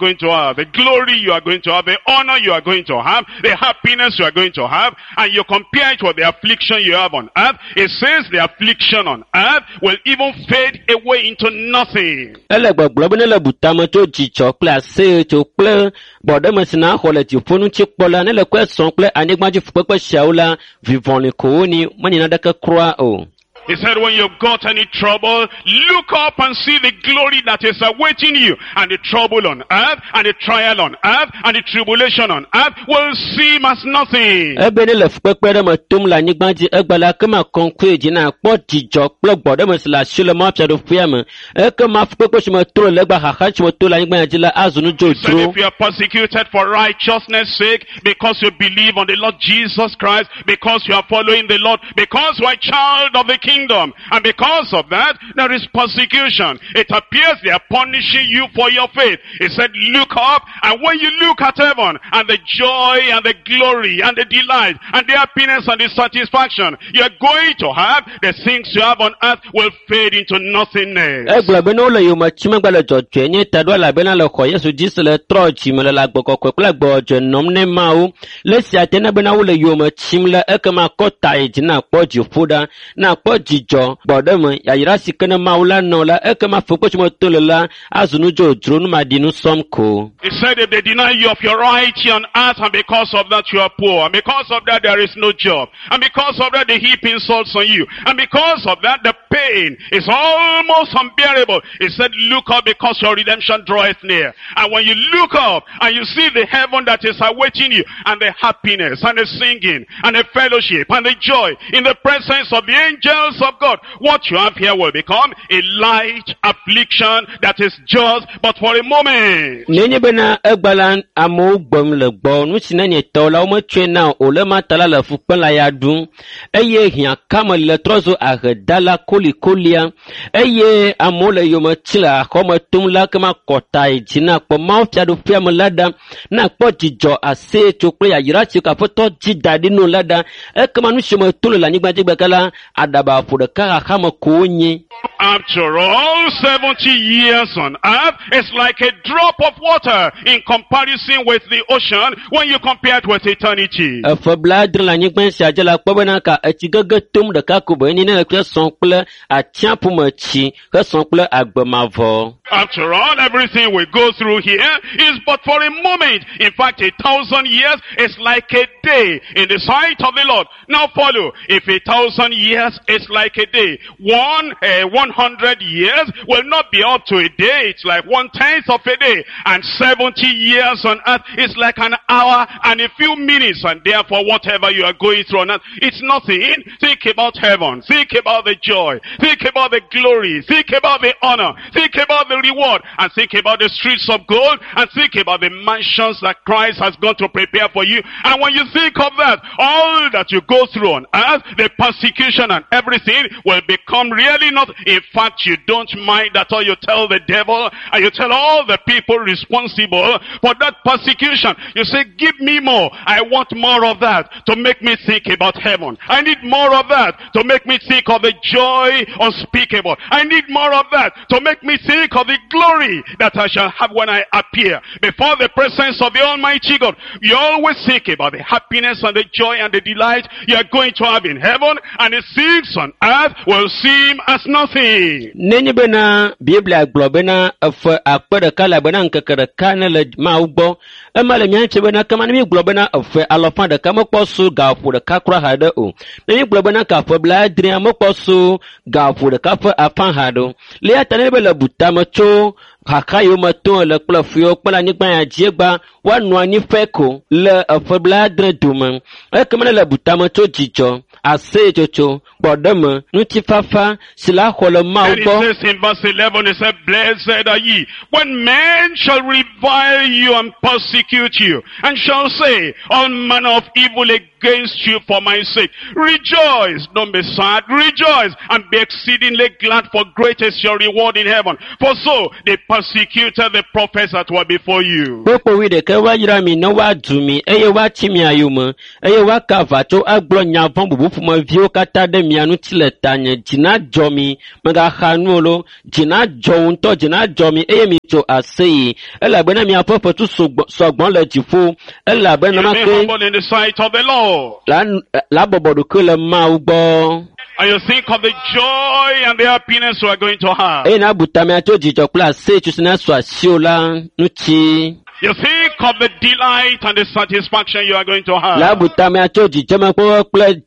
Going to have, the glory you are going to have, the honor you are going to have, the happiness you are going to have, and you compare it with the affliction you have on earth, it says the affliction on earth will even fade away into nothing. Ele gbɔgblɔ be ne le bu tame tso dzidzɔ kple aseyetso kple gbɔɖeme si na xɔ le dziƒo ŋuti kpɔ la, ne le kɔe sɔm kple anyigbadzi fukpekpe siawo la, vivɔli ko wonyi, menye naneke kura o. He said when you've got any trouble, look up and see the glory that is awaiting you. And the trouble on earth, and the trial on earth, and the tribulation on earth will seem as nothing. Ebe ne le fukpekpe ɖe me tom le anyigba dzi egbe la, ekema kɔŋkɔe dzi na kpɔ dzidzɔ kple gbɔɖeme si le asi le Mawu fiaɖuƒea me. Ekema fukpekpe si me to le legba xaxa si me to le anyigba ya dzi la azu nu He said dzodzro. if you are persecuted for righteousness' sake, because you believe on the Lord Jesus Christ, because you are following the Lord, because you are a child of the kingdom, and because of that, there is persecution. It appears they are punishing you for your faith. He said, look up, and when you look at heaven, and the joy and the glory and the delight and the happiness and the satisfaction you are going to have, the things you have on earth will fade into nothingness. Egblɔ be ne wole yome tsim egbe le dzɔdzɔe nye ta ɖo elabena le xɔ Yesu dzi se le trɔ dzime le le agbe kɔkɔe kple agbe dzɔdzɔe nɔm ne Mawu. Le esia te ne bena wole yome tsim la, ekema kɔ ta yi dzi na kpɔ dziƒo ɖa, na kpɔ dzidzɔ, gbɔɖeme, yayra si ke ne Mawu la nɔ la, ekema fukpe si me to le la azu nu dzodzro, numaɖinu sɔm ko. He said if they deny you of your right here on earth, and because of that you are poor, and because of that there is no job, and because of that they heap insults on you, and because of that the pain is almost unbearable. He said look up, because your redemption draweth near. And when you look up and you see the heaven that is awaiting you, and the happiness and the singing and the fellowship and the joy in the presence of the angels of God, what you have here will become a light affliction that is just but for a moment. Nenye bena egbe la amewo gbem le gbɔ, nu si ne nye tɔwo la wometsɔe na o le ma ta la le fu kpem le ya ɖum eye hiãkame le trɔ zu ahedala kolikolia eye amewo le yome tsi le axɔme tom la kema kɔta yi dzi na kpɔ Mawu fiaɖuƒea me la ɖa, na kpɔ dzidzɔ aseyetso kple yayra si ke Aƒetɔ dzi da ɖi no la ɖa, ekema nu si me to le le anyigba dzi gbeke la, aɖaba ƒo ɖeka xaxame ko wonye. After all, 70 years on earth is like a drop of water in comparison with the ocean when you compare it with eternity. Efe blaadre le anyigba sia dzi la kpɔ bena ka etsi gege tom ɖeka ko be enye ne le sɔm kple atsiaƒu me tsi hesɔ kple agbe mavɔ. After all, everything we go through here is but for a moment. In fact, 1,000 years is like a day in the sight of the Lord. Now follow. If 1,000 years is like a day, 100 years will not be up to a day. It's like 1/10 of a day. And 70 years on earth is like an hour and a few minutes. And therefore, whatever you are going through on earth, it's nothing. Think about heaven. Think about the joy. Think about the glory. Think about the honor. Think about the reward. And think about the streets of gold. And think about the mansions that Christ has gone to prepare for you. And when you think of that, all that you go through on earth, the persecution and everything will become really not. In fact, you don't mind at all. You tell the devil and you tell all the people responsible for that persecution. You say, give me more. I want more of that to make me think about heaven. I need more of that to make me think of the joy unspeakable. I need more of that to make me think of the glory that I shall have when I appear before the presence of the Almighty God. You always think about the happiness and the joy and the delight you are going to have in heaven, and the things on earth will seem as nothing. Nenye bena Biblia gblɔ bena efe akpe ɖeka le bena ŋkeke ɖeka ne le Mawu gbɔ, ema le mía ŋuti bena kema ne mígblɔ bena efe alɔfa ɖeka mekpɔ su gaƒo ɖeka kura haɖe o. Ne mígblɔ bena gaƒe blaadrea mekpɔ su gaƒo ɖeka ƒe afã haɖe o. Le eya ta ne be le butame tso xaxa yiwo me tom le kple fu yiwo kpe le anyigba ya dzi egba, woanɔ anyi ƒe ko le eƒe blaadre dome. Ekema ne le butame tso dzidzɔ, aseyetsotso, gbɔɖeme, ŋutifafa si la xɔ le Mawu Then it gbɔ. says in verse 11, it said, blessed are ye when men shall revile you and persecute you, and shall say all manner of evil against against you for my sake. Rejoice, don't be sad, rejoice and be exceedingly glad, for great is your reward in heaven. For so they persecuted the prophets that were before you. Kpukpui wuiɖekɛ woayra mi ne woadu mi eye woatsi mia yome eye woaka aʋatso agblɔ nya vɔ̃ bubu ƒomeviwo katã ɖe mia ŋuti le tanye. Dzi nadzɔ mi, mègaxa nu o lo. Dzi nadzɔ wò ŋutɔ, dzi nadzɔ mi eye mitso aseye elabena miaƒe fetu sɔgbɔ le dziƒo elabena You be nenema ke humble in the sight of the Lord. la la bɔbɔ ɖokui le Mawu gbɔ. And you think of the joy and the happiness you are going to have. Eye nabu tamea tso dzidzɔ kple aseyetsotso si nasu asiwò la ŋuti. You think of the delight and the satisfaction you are going to have. La bu tamea tso dzidzemekpɔkpɔ kple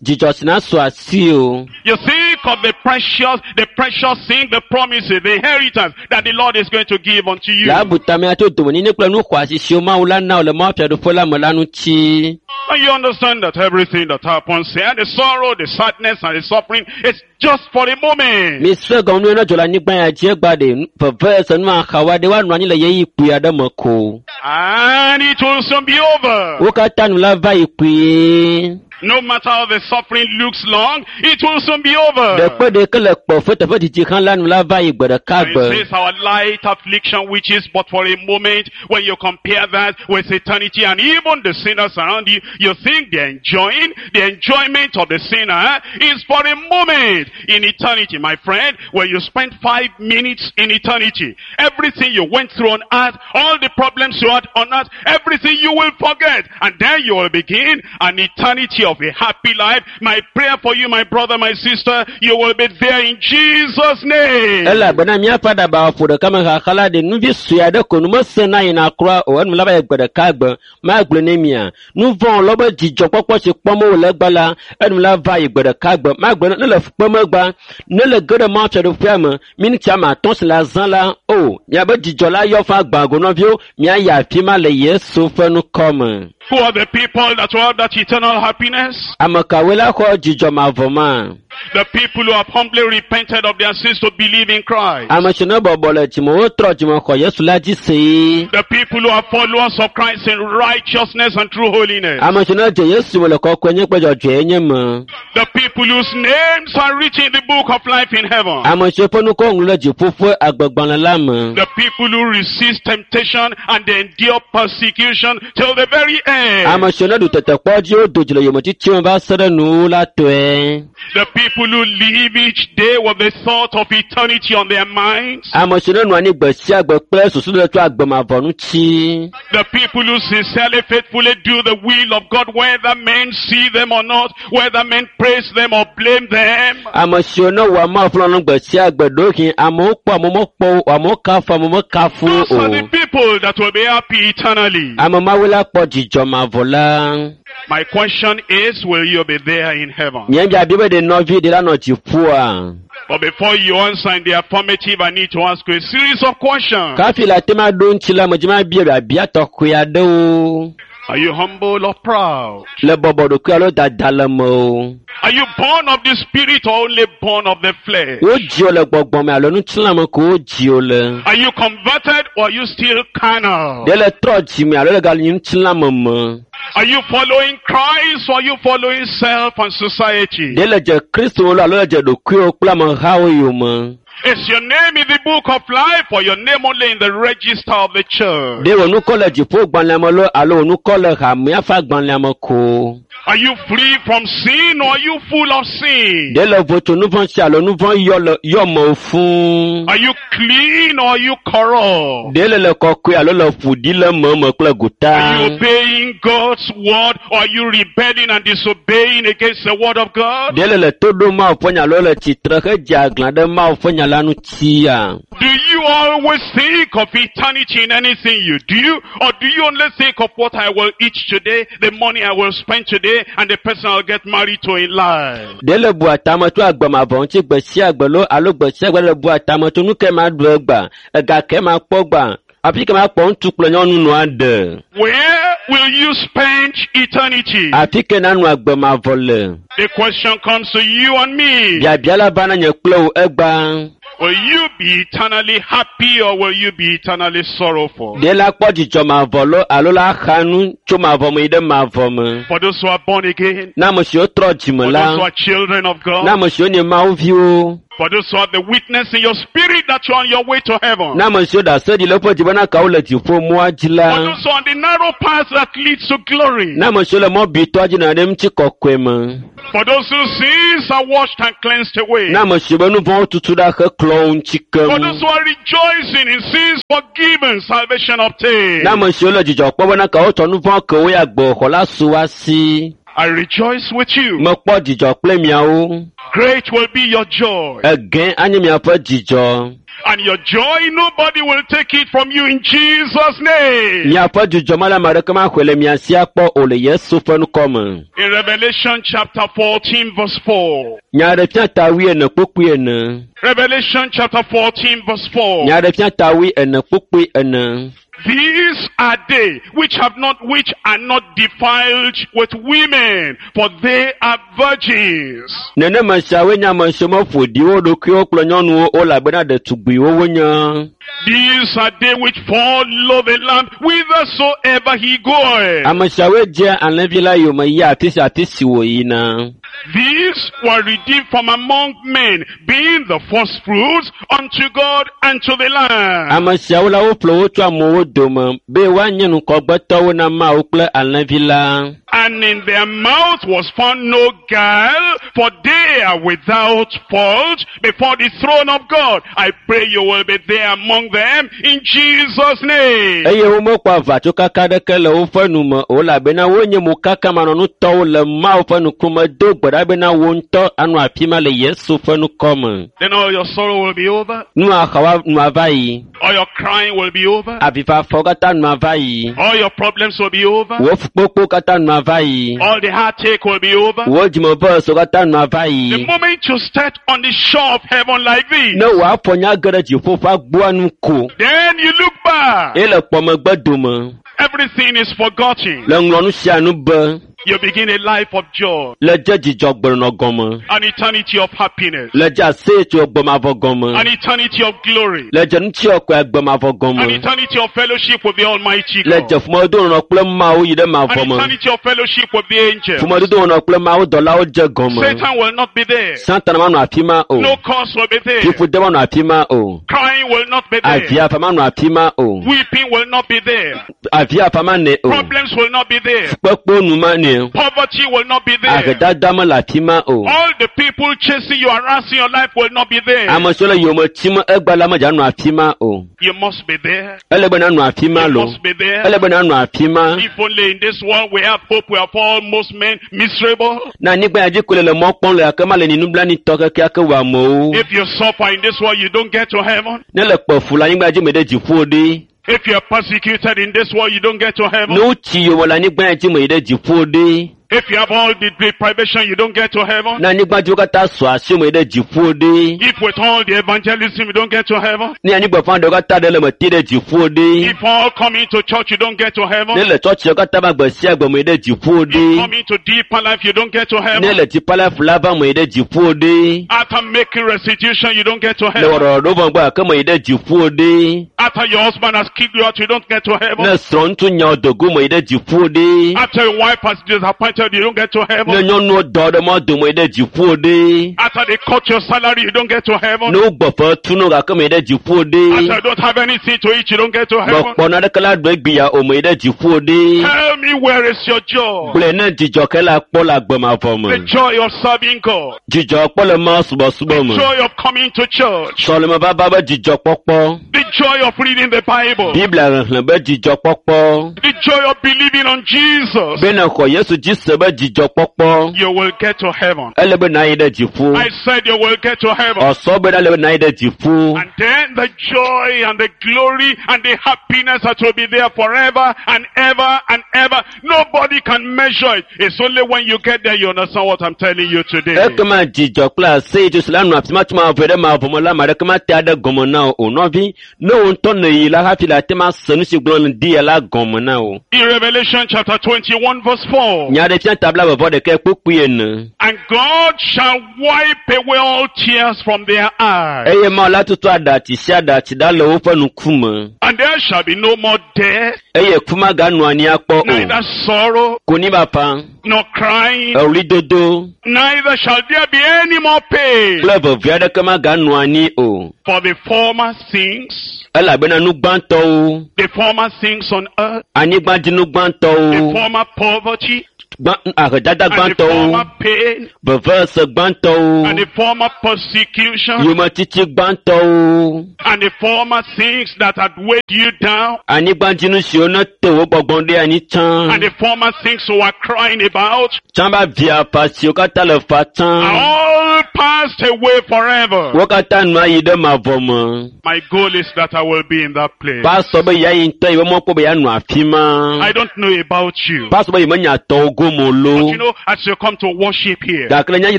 dzidzɔ si nasu asiwò. You think of the precious thing, the promises, the inheritance that the Lord is going to give unto you. La bu tamea tso domenyinyi kple nu xɔasi siwo Mawu la na wò le Mawu fiaɖuƒe la me la ŋuti. And you understand that everything that happens here, the sorrow, the sadness, and the suffering, is just for a moment. Mi se gɔme nu ne dzɔ le anyigba ya dzi egba ɖe veve se nu axawoa ɖe woanɔ anyi le ɣeyiɣi kpui aɖe me ko. And it will soon be over. Wo katã nu la va yi kpuie. No matter how the suffering looks long, it will soon be over. Ɖekpe ɖeke le kpɔfe teƒe didi hã la nu la va yi gbe ɖeka And gbe. it says our light affliction, which is but for a moment, when you compare that with eternity and even the sinners around you, you think they're enjoying, the enjoyment of the sinner is for a moment in eternity. My friend, when you spend 5 minutes in eternity, everything you went through on earth, all the problems you had on earth, everything you will forget. And then you will begin an eternity of a happy life. My prayer for you, my brother, my sister, you will be there in Jesus' name. Elabena míaƒe aɖabawo ƒo ɖeka me xaxa la ɖe nuvi sue aɖe ko nu mesena yina kura o enu la va yi gbe ɖeka gbe magblɔe ne mia. Nu vɔ̃ lɔ be dzidzɔkpɔkpɔ si kpɔm wole egba la enu la va yi gbe ɖeka gbe magblɔe ne le fukpem egba ne le ge ɖe Mawu fiaɖuƒea me miniti ame atɔ̃ si le azã la o miabe dzidzɔ la yɔ fã gbã go nɔviwo miayi afi ma le Yesu ƒe ŋkɔ me. Who are the people that will have that eternal happiness? Ame kawoe la xɔ dzidzɔ mavɔ ma? The people who have humbly repented of their sins to believe in Christ. Ame si ne bɔbɔ le dzime wotrɔ dzime xɔ Yesu la dzi see. The people who are followers of Christ in righteousness and true holiness. Ame si ne dze Yesu me le kɔkɔenye kple dzɔdzɔenye me. The people whose names are written in the book of life in heaven. Ame siwo ƒe ŋkɔ ŋlɔ ɖe dziƒo ƒe agbegbalẽ la me. The people who resist temptation and endure persecution till the very end. Ame siwo ne ɖu tetekpɔ dzi wodo dzi le yometiti me va se ɖe nuwuwu la tɔe. The people who live each day with the thought of eternity on their minds. Ame siwo ne nɔ anyi gbe sia gbe kple susu ɖe tso agbe mavɔ ŋuti. The people who sincerely, faithfully do the will of God, whether men see them or not, whether men praise them or blame them. Ame siwo ne wɔa Mawu ƒe lɔlɔ̃nu gbe sia gbe ɖewohĩ amewo kpɔ amewo mekpɔ o, amewo kafu amewo mekafu Those are the o. people that will be happy eternally. Ame mawoe la kpɔ dzidzɔ mavɔ la. My question is, will you be there in heaven? Nye biabia be ɖe nɔvi ɖe la nɔ dziƒoa? But before you answer in the affirmative, I need to ask you a series of questions. Kafi le ate ma ɖo ŋuti la, medzi ma bia biabia tɔxɛ aɖewo. Are you humble or proud? Le bɔbɔ ɖokui alo dada le me o. Are you born of the spirit or only born of the flesh? Wodzi wò le gbɔgbɔ me alo ŋutilã me ko wodzi wò le. Are you converted or are you still carnal? Ɖe le trɔ dzime alo le ganyi ŋutilã me me. Are you following Christ or are you following self and society? Ɖe le dze Kristo lo alo le dze ɖokuiwo kple amehawo yome. Is your name in the book of life or your name only in the register of the church? Ɖe wò ŋkɔ le dziƒogbalẽa me lo alo wò ŋkɔ le hamea ƒe agbalẽa me ko. Are you free from sin or are you full of sin? Ɖe le vo tso nu vɔ̃ si alo nu vɔ̃ yɔ me fũu. Are you clean or are you corrupt? Ɖe le le kɔkɔe alo le ƒo ɖi le me me kple gota. Are you obeying God's word or are you rebelling and disobeying against the word of God? Ɖe le le to ɖom Mawu ƒe nya alo le tsitre hedze aglã ɖe Mawu ƒe nya la ŋutia. Do you always think of eternity in anything you do? Or do you only think of what I will eat today, the money I will spend today, and the person I'll get married to in life? Ɖe le bua tame tso agbe mavɔ ŋuti gbe sia gbe lo alo gbe sia gbe le bua tame tso nu ke ma ɖu egbea, ega ke ma kpɔ gbea, afi ke ma kpɔ ŋutsu kple nyɔnu nɔa ɖe. Where will you spend eternity? Afi ke nanɔ agbe mavɔ le. The question comes to you and me. Biabia la va na nye kple wò egbea. Will you be eternally happy or will you be eternally sorrowful? Ɖe la kpɔ dzidzɔ mavɔ lo alo la xa nu tso tso mavɔ me yi ɖe mavɔ me. For those who are born again, Na ame siwo trɔ dzime for la, those who are children of na God, ame siwo nye Mawu viwo, for those who have the witness in your spirit that you are on your way to heaven, na ame siwo ɖase ɖi le woƒe dzi bena kawo le dziƒo mɔa dzi for la, those who are on the narrow path that leads to glory, na ame siwo le mɔ bitɔa dzi nɔ ɖe ŋuti kɔkɔe me, for those whose sins are washed and cleansed away, na ame siwo be nu vɔ̃wo tutu ɖa heklɔ wo ŋuti for keŋ, those who are rejoicing in sins forgiven, salvation obtained. na ame siwo le dzidzɔ kpɔm bena kawo tsɔ nu vɔ̃ ke wo ya gbɔxɔ la su wa si. I rejoice with you. Mekpɔ dzidzɔ kple miawo. Great will be your joy. Egẽ anye miaƒe dzidzɔ. And your joy, nobody will take it from you in Jesus' name. Miaƒe dzidzɔ ma le ame aɖeke maxɔe le mia si akpɔ o le Yesu ƒe ŋkɔ me. In Revelation chapter 14 verse 4. Nyaɖefia ta wuiene kpukpui ene. Revelation chapter 14 verse 4. Nyaɖefia ta wuiene kpukpui ene. These are they which have not, which are not defiled with women, for they are virgins. Nenema siawoe nye ame siwo meƒo ɖi wo ɖokuiwo kple nyɔnuwo o elabena ɖetugbiwo wonye. These are they which follow the Lamb whithersoever he goeth. Ame siawoe dzea alẽvi la yome yia afi sia afi si wòyina. These were redeemed from among men, being the first fruits unto God and to the Lamb. Ame siawo la woƒle wo tso amewo dome be woanye ŋkɔgbetɔwo na Mawu kple alẽvi la. And in their mouth was found no guile, for they are without fault before the throne of God. I pray you will be there among them in Jesus' name. Eye womekpɔ aʋatsokaka aɖeke le woƒe nu me o elabena wonye mokaakamanɔnutɔwo le Mawu ƒe ŋkume do gbe ɖa bena wo ŋutɔ anɔ afi ma le Yesu ƒe ŋkɔ me. Then all your sorrow will be over, Nua xawa nua va yi, all your crying will be over, avifafawo katã nua va yi, all your problems will be over, wò fukpekpewo katã nua va yi, all the heartache will be over. wò dzimevesowo katã nua va The yi. moment you start on the shore of heaven like this, Ne wò afɔ nya ge ɖe dziƒo ƒe agboa nu ko then you look back. eye le kpɔ megbe dome Everything is forgotten. le ŋlɔ nu sia nu be You begin a life of joy, le dze dzidzɔ gbenɔnɔ gɔme, an eternity of happiness, le dze aseyetso gbemavɔ gɔme. an eternity of glory, le dze ŋutiɔkɔe agbemavɔ an gɔme eternity of fellowship with the Almighty le God, dze ƒomedodo kple Mawu yi ɖe an mavɔ me eternity of fellowship with the angels. ƒomedodo kple Mawu dɔlawo dze gɔme Satan will not be there. Satana manɔ afi ma o No curse will be there. fiƒode manɔ afi ma o Crying will not be there. aviafa manɔ afi ma o Weeping will not be there. aviafa manɛ o Problems will not be there. kpekpewo nu manɛ Poverty will not be there. Ahedada mele afi ma o All the people chasing you, harassing your life will not be there. ame siwo le yome tim egba la medza nɔ afi ma o You must be there. ele be nanɔ afi ma You lo must be there. ele be nanɔ afi ma If only in this world we have hope, we are almost men miserable. na anyigba ya dzi ko le le mɔ kpɔm le gake ma le nublanuitɔ kekeake wɔ amewo If you suffer in this world, you don't get to heaven. ne le kpe fu le anyigba dzi me ɖe dziƒo ɖe If you are persecuted in this world, you don't get to heaven. ne wotsi yome le anyigba ya dzi me yi ɖe dziƒo ɖe If you have all the deprivation, you don't get to heaven. ne anyigba dziwo katã sɔ asi me yi ɖe dziƒo ɖe If with all the evangelism, you don't get to heaven. ne anyigba fã ɖewo katã ɖe le me te ɖe dziƒo ɖe If all coming to church, you don't get to heaven. ne le tsɔtsiwo katã va gbe sia gbe me yi ɖe dziƒo If ɖe coming to deeper life, you don't get to ne heaven. le dzipa la fu la va me yi ɖe dziƒo ɖe After making restitution, you don't get to le heaven. wɔɖɔɖɔ vɔ gbɔ gake me yi ɖe dziƒo ɖe After your husband has kicked you out, you don't get to heaven. ne srɔ̃ ŋutsu nya wo dogo me yi ɖe dziƒo ɖe After your wife has disappointed, you don't get to ne heaven. nyɔnuwo dɔ ɖe mɔ dome yi ɖe dziƒo ɖe After they cut your salary, you don't get to heaven. ne wogbɔ fe tu no gake me yi ɖe dziƒo ɖe After you don't have anything to eat, you don't get to heaven. mekpɔ naneke la ɖo egbea o me yi ɖe dziƒo ɖe Tell me where is your joy? gblɔe ne dzidzɔ ke la kpɔ le agbemavɔ The me joy of serving God. dzidzɔ kpɔ le Mawu subɔsubɔ The me joy of coming to church. sɔleme vava be dzidzɔ kpɔkpɔ The joy of reading the Bible. Biblia xexlẽ be dzidzɔ kpɔkpɔ The joy of believing on Jesus. be ne xɔ Yesu dzi se be dzidzɔ kpɔkpɔ You will get to heaven. ele be nayi ɖe dziƒo I said you will get to heaven. ɔsɔ be ele be nayi ɖe dziƒo And then the joy and the glory and the happiness that will be there forever and ever and ever. Nobody can measure it. It's only when you get there you understand what I'm telling you today. Ekema dzidzɔ kple aseyetso si la nɔ afi ma tso mavɔ ɖe mavɔ me la, ame aɖeke mate aɖe gɔme na wò o. Nɔvi, ne wò ŋutɔ nèyi la hafi le ate ma se nu si gblɔm di ya la gɔme na wò. In Revelation chapter 21 verse 4. Nya Nyaɖeɖefia ta 21 kpukpui 4. And God shall wipe away all tears from their eyes. Eye Mawu la tutu aɖatsi sia aɖatsi ɖa le woƒe ŋkume. And there shall be no more death, Eye ku maganɔ anyi akpɔ o. neither sorrow, Konyifafa, nor crying, eɣlidodo neither shall there be any more pain. kple veve aɖeke maganɔ anyi o. For the former things, Elabena nu gbãtɔwo, the former things on earth, anyigbadzinu the gbãtɔwo, former poverty, gbã, ahedada and the gbãtɔwo, former pain, vevese gbãtɔwo, and the former persecution, yometiti gbãtɔwo, and the former things that had weighed you down, anyigbadzinu siwo nete wo gbɔgbɔ ɖe anyi tsã, and the former things you were crying about, tsã be avia fa siwo katã le fa tsã, are all passed away forever. wo katã nu ayi ɖe mavɔ me. My goal is that I will be in that place. Pastor be yeayi ŋutɔ yi be mɔkpɔ be yeanɔ afi ma. I don't know about you. Pastor be yemenya tɔwo gome o But lo. you know, as you come to worship here, Gake le nyanyi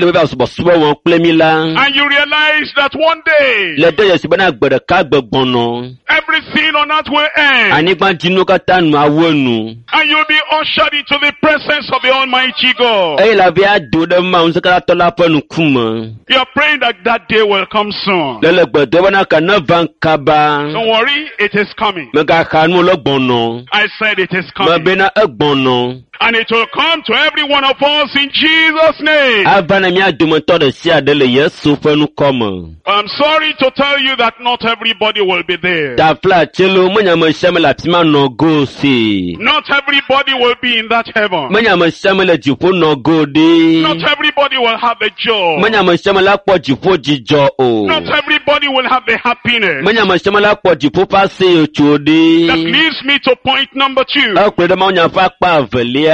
le be va subɔsubɔ wɔm kple mi la, and you realize that one day, le de dzesi bena gbe ɖeka gbe gbɔnɔ, everything on earth will end, anyigbadzinuwo katã nu awu enu. and you'll be ushered into the presence of the Almighty God. Eye le avi ado ɖe Mawu ŋusẽkatãtɔ la ƒe ŋkume. You're praying that that day will come soon. Le le gbe dom bena ke neva kaba. Don't worry, it is coming. Megaxa nu le gbɔnɔ. I said it is coming. Mebena egbɔnɔ. And it will come to every one of us in Jesus' name. Ava na mía dometɔ ɖe sia ɖe le Yesu ƒe ŋkɔ me. I'm sorry to tell you that not everybody will be there. Tafla tselo menye ame sia ame le afi ma nɔ go si. Not everybody will be in that heaven. Menye ame sia ame le dziƒo nɔ go ɖi. Not everybody will have the joy. Menye ame sia ame la kpɔ dziƒo dzidzɔ o. Not everybody will have the happiness. Menye ame sia ame la kpɔ dziƒo ƒe aseyetso That ɖi. leads me to point number 2. Ekplɔe ɖe mawunya ƒe akpa evelia.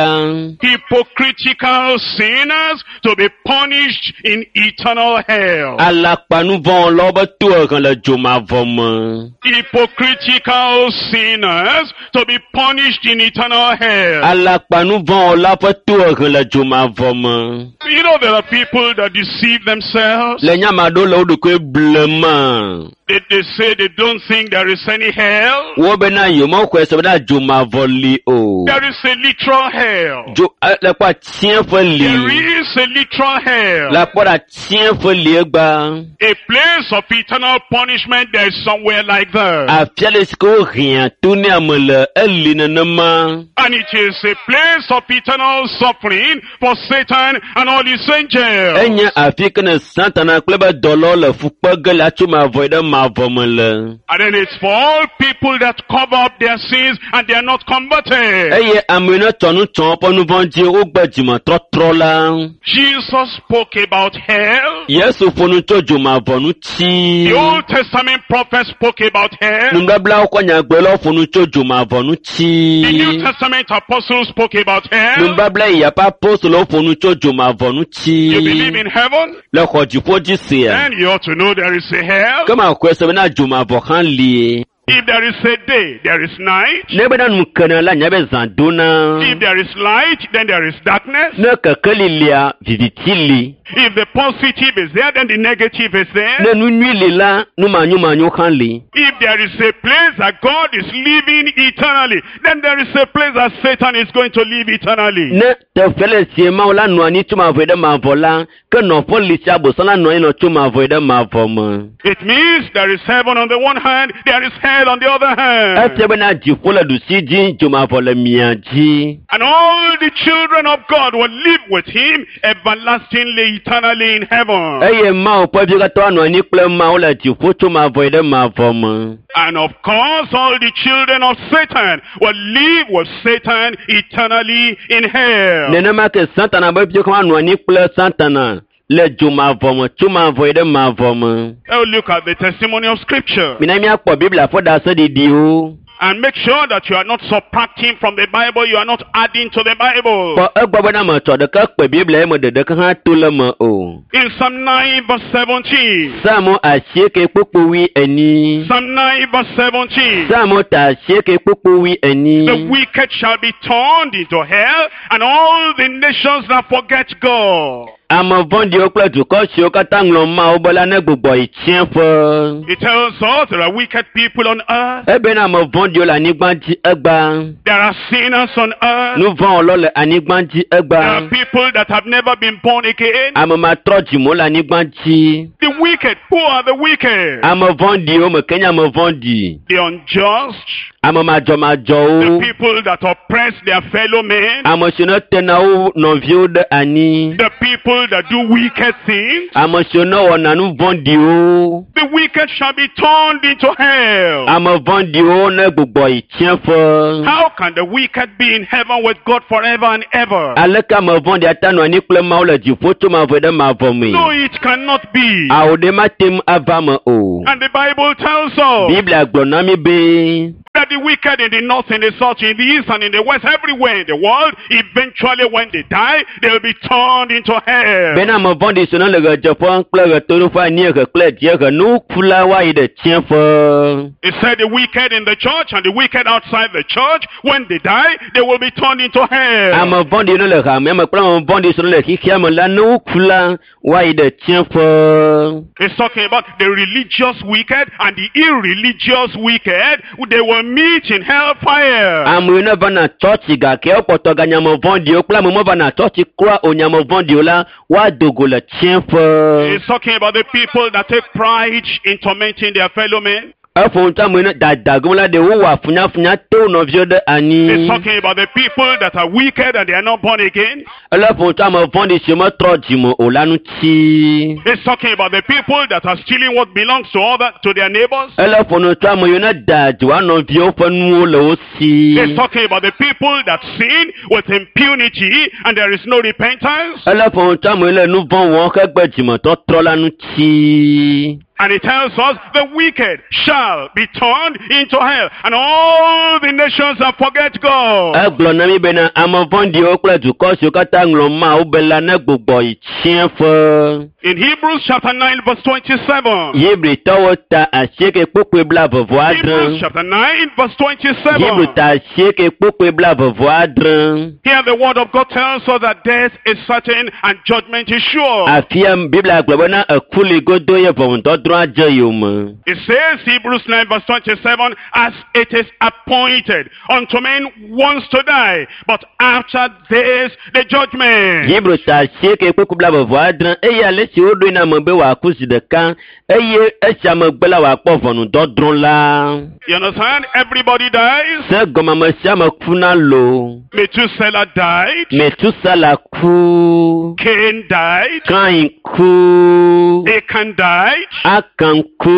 Hypocritical sinners to be punished in eternal hell. Alakpanuvɔwɔlawo be tohehe le dzomavɔ me. Hypocritical sinners to be punished in eternal hell. Alakpanuvɔwɔla ƒe tohehe le dzomavɔ me. You know there are people that deceive themselves. Le nya ame aɖewo le wo ɖokui blema. They say they don't think there is any hell. Wo bena yewomexɔe se bena dzomavɔ li o. There is a literal hell. Dzo le kpɔ atiẽƒe li. There is a literal hell. Le kpɔ ɖe atiẽƒe li egba. A place of eternal punishment, there is somewhere like that. Afia le si ke wohea to ne ame le eli nenema. And it is a place of eternal suffering for Satan and all his angels. Enye afi ke ne Satana kple be dɔlawo le fu kpe ge le atso mavɔ yi ɖe mavɔ me le. And then it's for all people that cover up their sins and they are not converted. Eye ame yi ne tɔ nu tsɔ woƒe nu vɔ̃ dzi wogbe dzimetɔtrɔ la. Jesus spoke about hell. Yesu ƒo nu tso dzomavɔ ŋuti. The Old Testament prophets spoke about hell. Nubablawo ƒe nyagblɔlawo ƒo nu tso dzomavɔ ŋuti. The New Testament apostles spoke about hell. Nubabla yi ƒe apostolowo ƒo nu tso dzomavɔ ŋuti. You believe in heaven? Le xɔ dziƒo dzi sia. Then you ought to know there is a hell. Ke maxɔe se bena dzomavɔ hã li. If there is a day, there is night. Ne bena nu kena la nya be zã dona. If there is light, then there is darkness. Ne kekeli lia, viviti li. If the positive is there, then the negative is there. Ne nu nyui li la, nu manyomanyo hã li. If there is a place that God is living eternally, then there is a place that Satan is going to live eternally. Ne teƒe le sie Mawu la nɔ anyi tso mavɔ yi ɖe mavɔ la, ke nɔƒe li sia Abosam la nɔ anyi nɔ tso mavɔ yi ɖe mavɔ me. It means there is heaven on the one hand, there is hell on the other hand. Efia bena dziƒo le ɖusi dzi, dzomavɔ le mia dzi. And all the children of God will live with him everlastingly, eternally in heaven. Eye Mawu ƒe viwo katã anɔ anyi kple Mawu le dziƒo tso mavɔ yi ɖe mavɔ me. And of course, all the children of Satan will live with Satan eternally in hell. Nenema ke Satana be viwo hã anɔ anyi kple Satana le dzomavɔ me tso mavɔ yi ɖe mavɔ me. Now look at the testimony of Scripture. Mina míakpɔ Biblia ƒe ɖaseɖiɖiwo. And make sure that you are not subtracting from the Bible, you are not adding to the Bible. Kpɔ egbɔ bena metsɔ ɖeka kpe Biblia ye me ɖeɖeke hã to le me o. In Psalm 9 verse 17. Psalmo 84. Psalm 9 verse 17. Psalmo ta 84. The wicked shall be turned into hell, and all the nations that forget God. Ame vɔ̃ɖiwo kple dukɔ siwo katã ŋlɔ Mawu be la ne gbugbɔ yi tsiẽƒe. It tells us there are wicked people on earth. Ebena ame vɔ̃ɖiwo le anyigba dzi egbea. There are sinners on earth. Nu vɔ̃wɔlawo le anyigba dzi There egbea. are people that have never been born again. Ame matrɔ dzimewo le anyigba dzi. The wicked. Who are the wicked? Ame vɔ̃ɖiwo me ke nye ame vɔ̃ɖi. The unjust. Ame The madzɔmadzɔwo. people that oppress their fellow men. Ame siwo ne tena wo nɔviwo ɖe anyi. The people that do wicked things. Ame siwo ne wɔna nu vɔ̃ɖiwo. The wicked shall be turned into hell. Ame vɔ̃ɖiwo ne gbugbɔ yi tsiẽƒe. How can the wicked be in heaven with God forever and ever? Aleke ame vɔ̃ɖi ate anɔ anyi kple Mawu le dziƒo tso mavɔ ɖe mavɔ mee? No, it cannot be. Awo ɖe mate ŋu ava me o. And the Bible tells us Biblia gblɔ na mí be that the wicked in the north, in the south, in the east, and in the west, everywhere in the world, eventually when they die, they'll be turned into hell. bena ame vɔ̃ɖi siwo ne le ɣedzeƒe kple ɣetoɖoƒe, anyiehe kple dziehe, nuku la woayi ɖe tsiẽƒe. It said the wicked in the church and the wicked outside the church, when they die, they will be turned into hell. Ame vɔ̃ɖi ne le hamea me kple ame vɔ̃ɖi siwo le xexea me la, ne woku la, woayi ɖe tsiẽƒe. It's talking about the religious wicked and the irreligious wicked. They will meet in hellfire. Ame yiwo ne vana tsɔtsi gake wokpɔtɔ ganye ame vɔ̃ɖiwo kple ame mevana tsɔtsi kura o nye ame vɔ̃ɖiwo la, woado go le tsiẽƒe. It's talking about the people that take pride in tormenting their fellow men. Eƒo nu tso ame yiwo ne dadagom la ɖe wowɔa funyafunya to wo nɔviwo ɖe anyi. It's talking about the people that are wicked and they are not born again. Ele ƒo nu tso ame vɔ̃ɖi siwo metrɔ dzime o la ŋuti. It's talking about the people that are stealing what belongs to other to their neighbors. Ele ƒo nu tso ame yiwo ne da dzi woa nɔviwo ƒe nuwo le wo si. It's talking about the people that sin with impunity and there is no repentance. Ele ƒo nu tso ame yiwo le nu vɔ̃ wɔm hegbe dzimetɔtrɔ la ŋuti. And it tells us the wicked shall be turned into hell, and all the nations that forget God. Egblɔ na mí bena ame vɔ̃ɖiwo kple dukɔ siwo katã ŋlɔ Mawu be la ne gbugbɔ yi tsiẽƒe. In Hebrews chapter 9 verse 27. Hebritɔwo ta 8 kpukpui Hebrews 26. chapter 9 verse Hebrew 27. ta 8 kpukpui 26. Here the word of God tells us that death is certain and judgment is sure. Afia Biblia gblɔ bena eku li godo ye ʋɔnudɔdrɔ̃ adze yome. It says, Hebrews 9 verse 27, as it is appointed unto men once to die, but after this the judgment. Hebrew ta 8 kpukpui 26 eye ale si woɖoe na ame be wòaku zi ɖeka eye esia megbe la wòakpɔ ʋɔnudɔdrɔ̃ la. You understand? Everybody dies. Se gɔme ame sia ame kuna lo. Methuselah died. Metusala ku. Cain died. Kain ku. Achan died. Akan ku.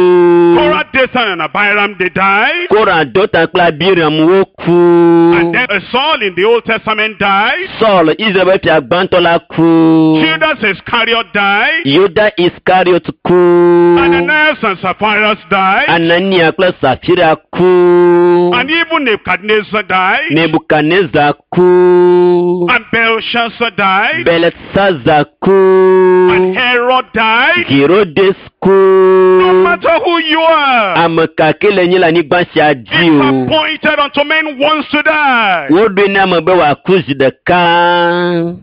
Korah, Dathan, and Abiram, they died. Kora Dota kple Abiram wo ku. And then Saul in the Old Testament died. Saul Israel fia gbãtɔ la ku. Judas Iscariot died. Yuda Iskariot ku. Ananias and Sapphira died. Anania kple Safira ku. And even Nebuchadnezzar died. Nebukadnezar ku. And Belshazzar died. Belsazar ku. And Herod died. Herodes ku. No matter who you are, Ame ka ke le nyi le anyigba sia dzi it's o. appointed unto men once to die. Woɖoe na ame be wòaku zi ɖeka.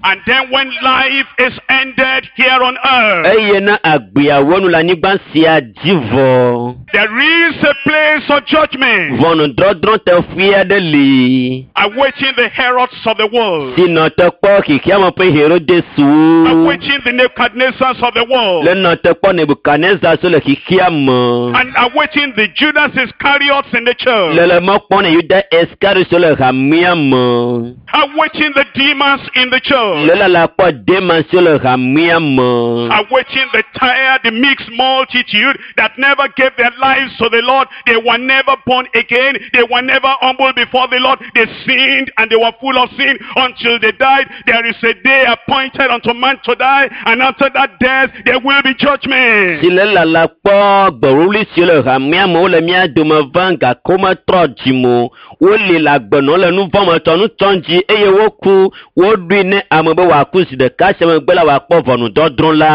And then when life is ended here on earth, Eye na agbeawo nu le anyigba sia dzi vɔ. there is a place of judgment Ʋɔnudɔdrɔ̃ teƒe aɖe li. awaiting the Herods of the world, Si nɔ te kpɔ xexeame ƒe Herodeswo. awaiting the Nebuchadnezzars of the world, Le nɔ te kpɔ Nebukadnezar so le xexeame. and awaiting the Judas Iscariots in the church, Le le mɔ kpɔm ne Yuda Iskariot so le hamea me. awaiting the demons in the church, Le lala kpɔ Demas so le hamea me. awaiting the tired, the mixed multitude that never gave their lives to the Lord. They were never born again. They were never humble before the Lord. They sinned and they were full of sin until they died. There is a day appointed unto man to die, and after that death, there will be judgment. Si le lala la kpɔ gbewuli siwo le hamea me wole mía dome vam gake wometrɔ dzime o. Woli le agbenɔ le nu vɔ̃ me tsɔ nu tsɔm dzi eye woku. Woɖoe ne ame be wòaku zi ɖeka sia megbe la wòakpɔ ʋɔnudɔdrɔ̃ la.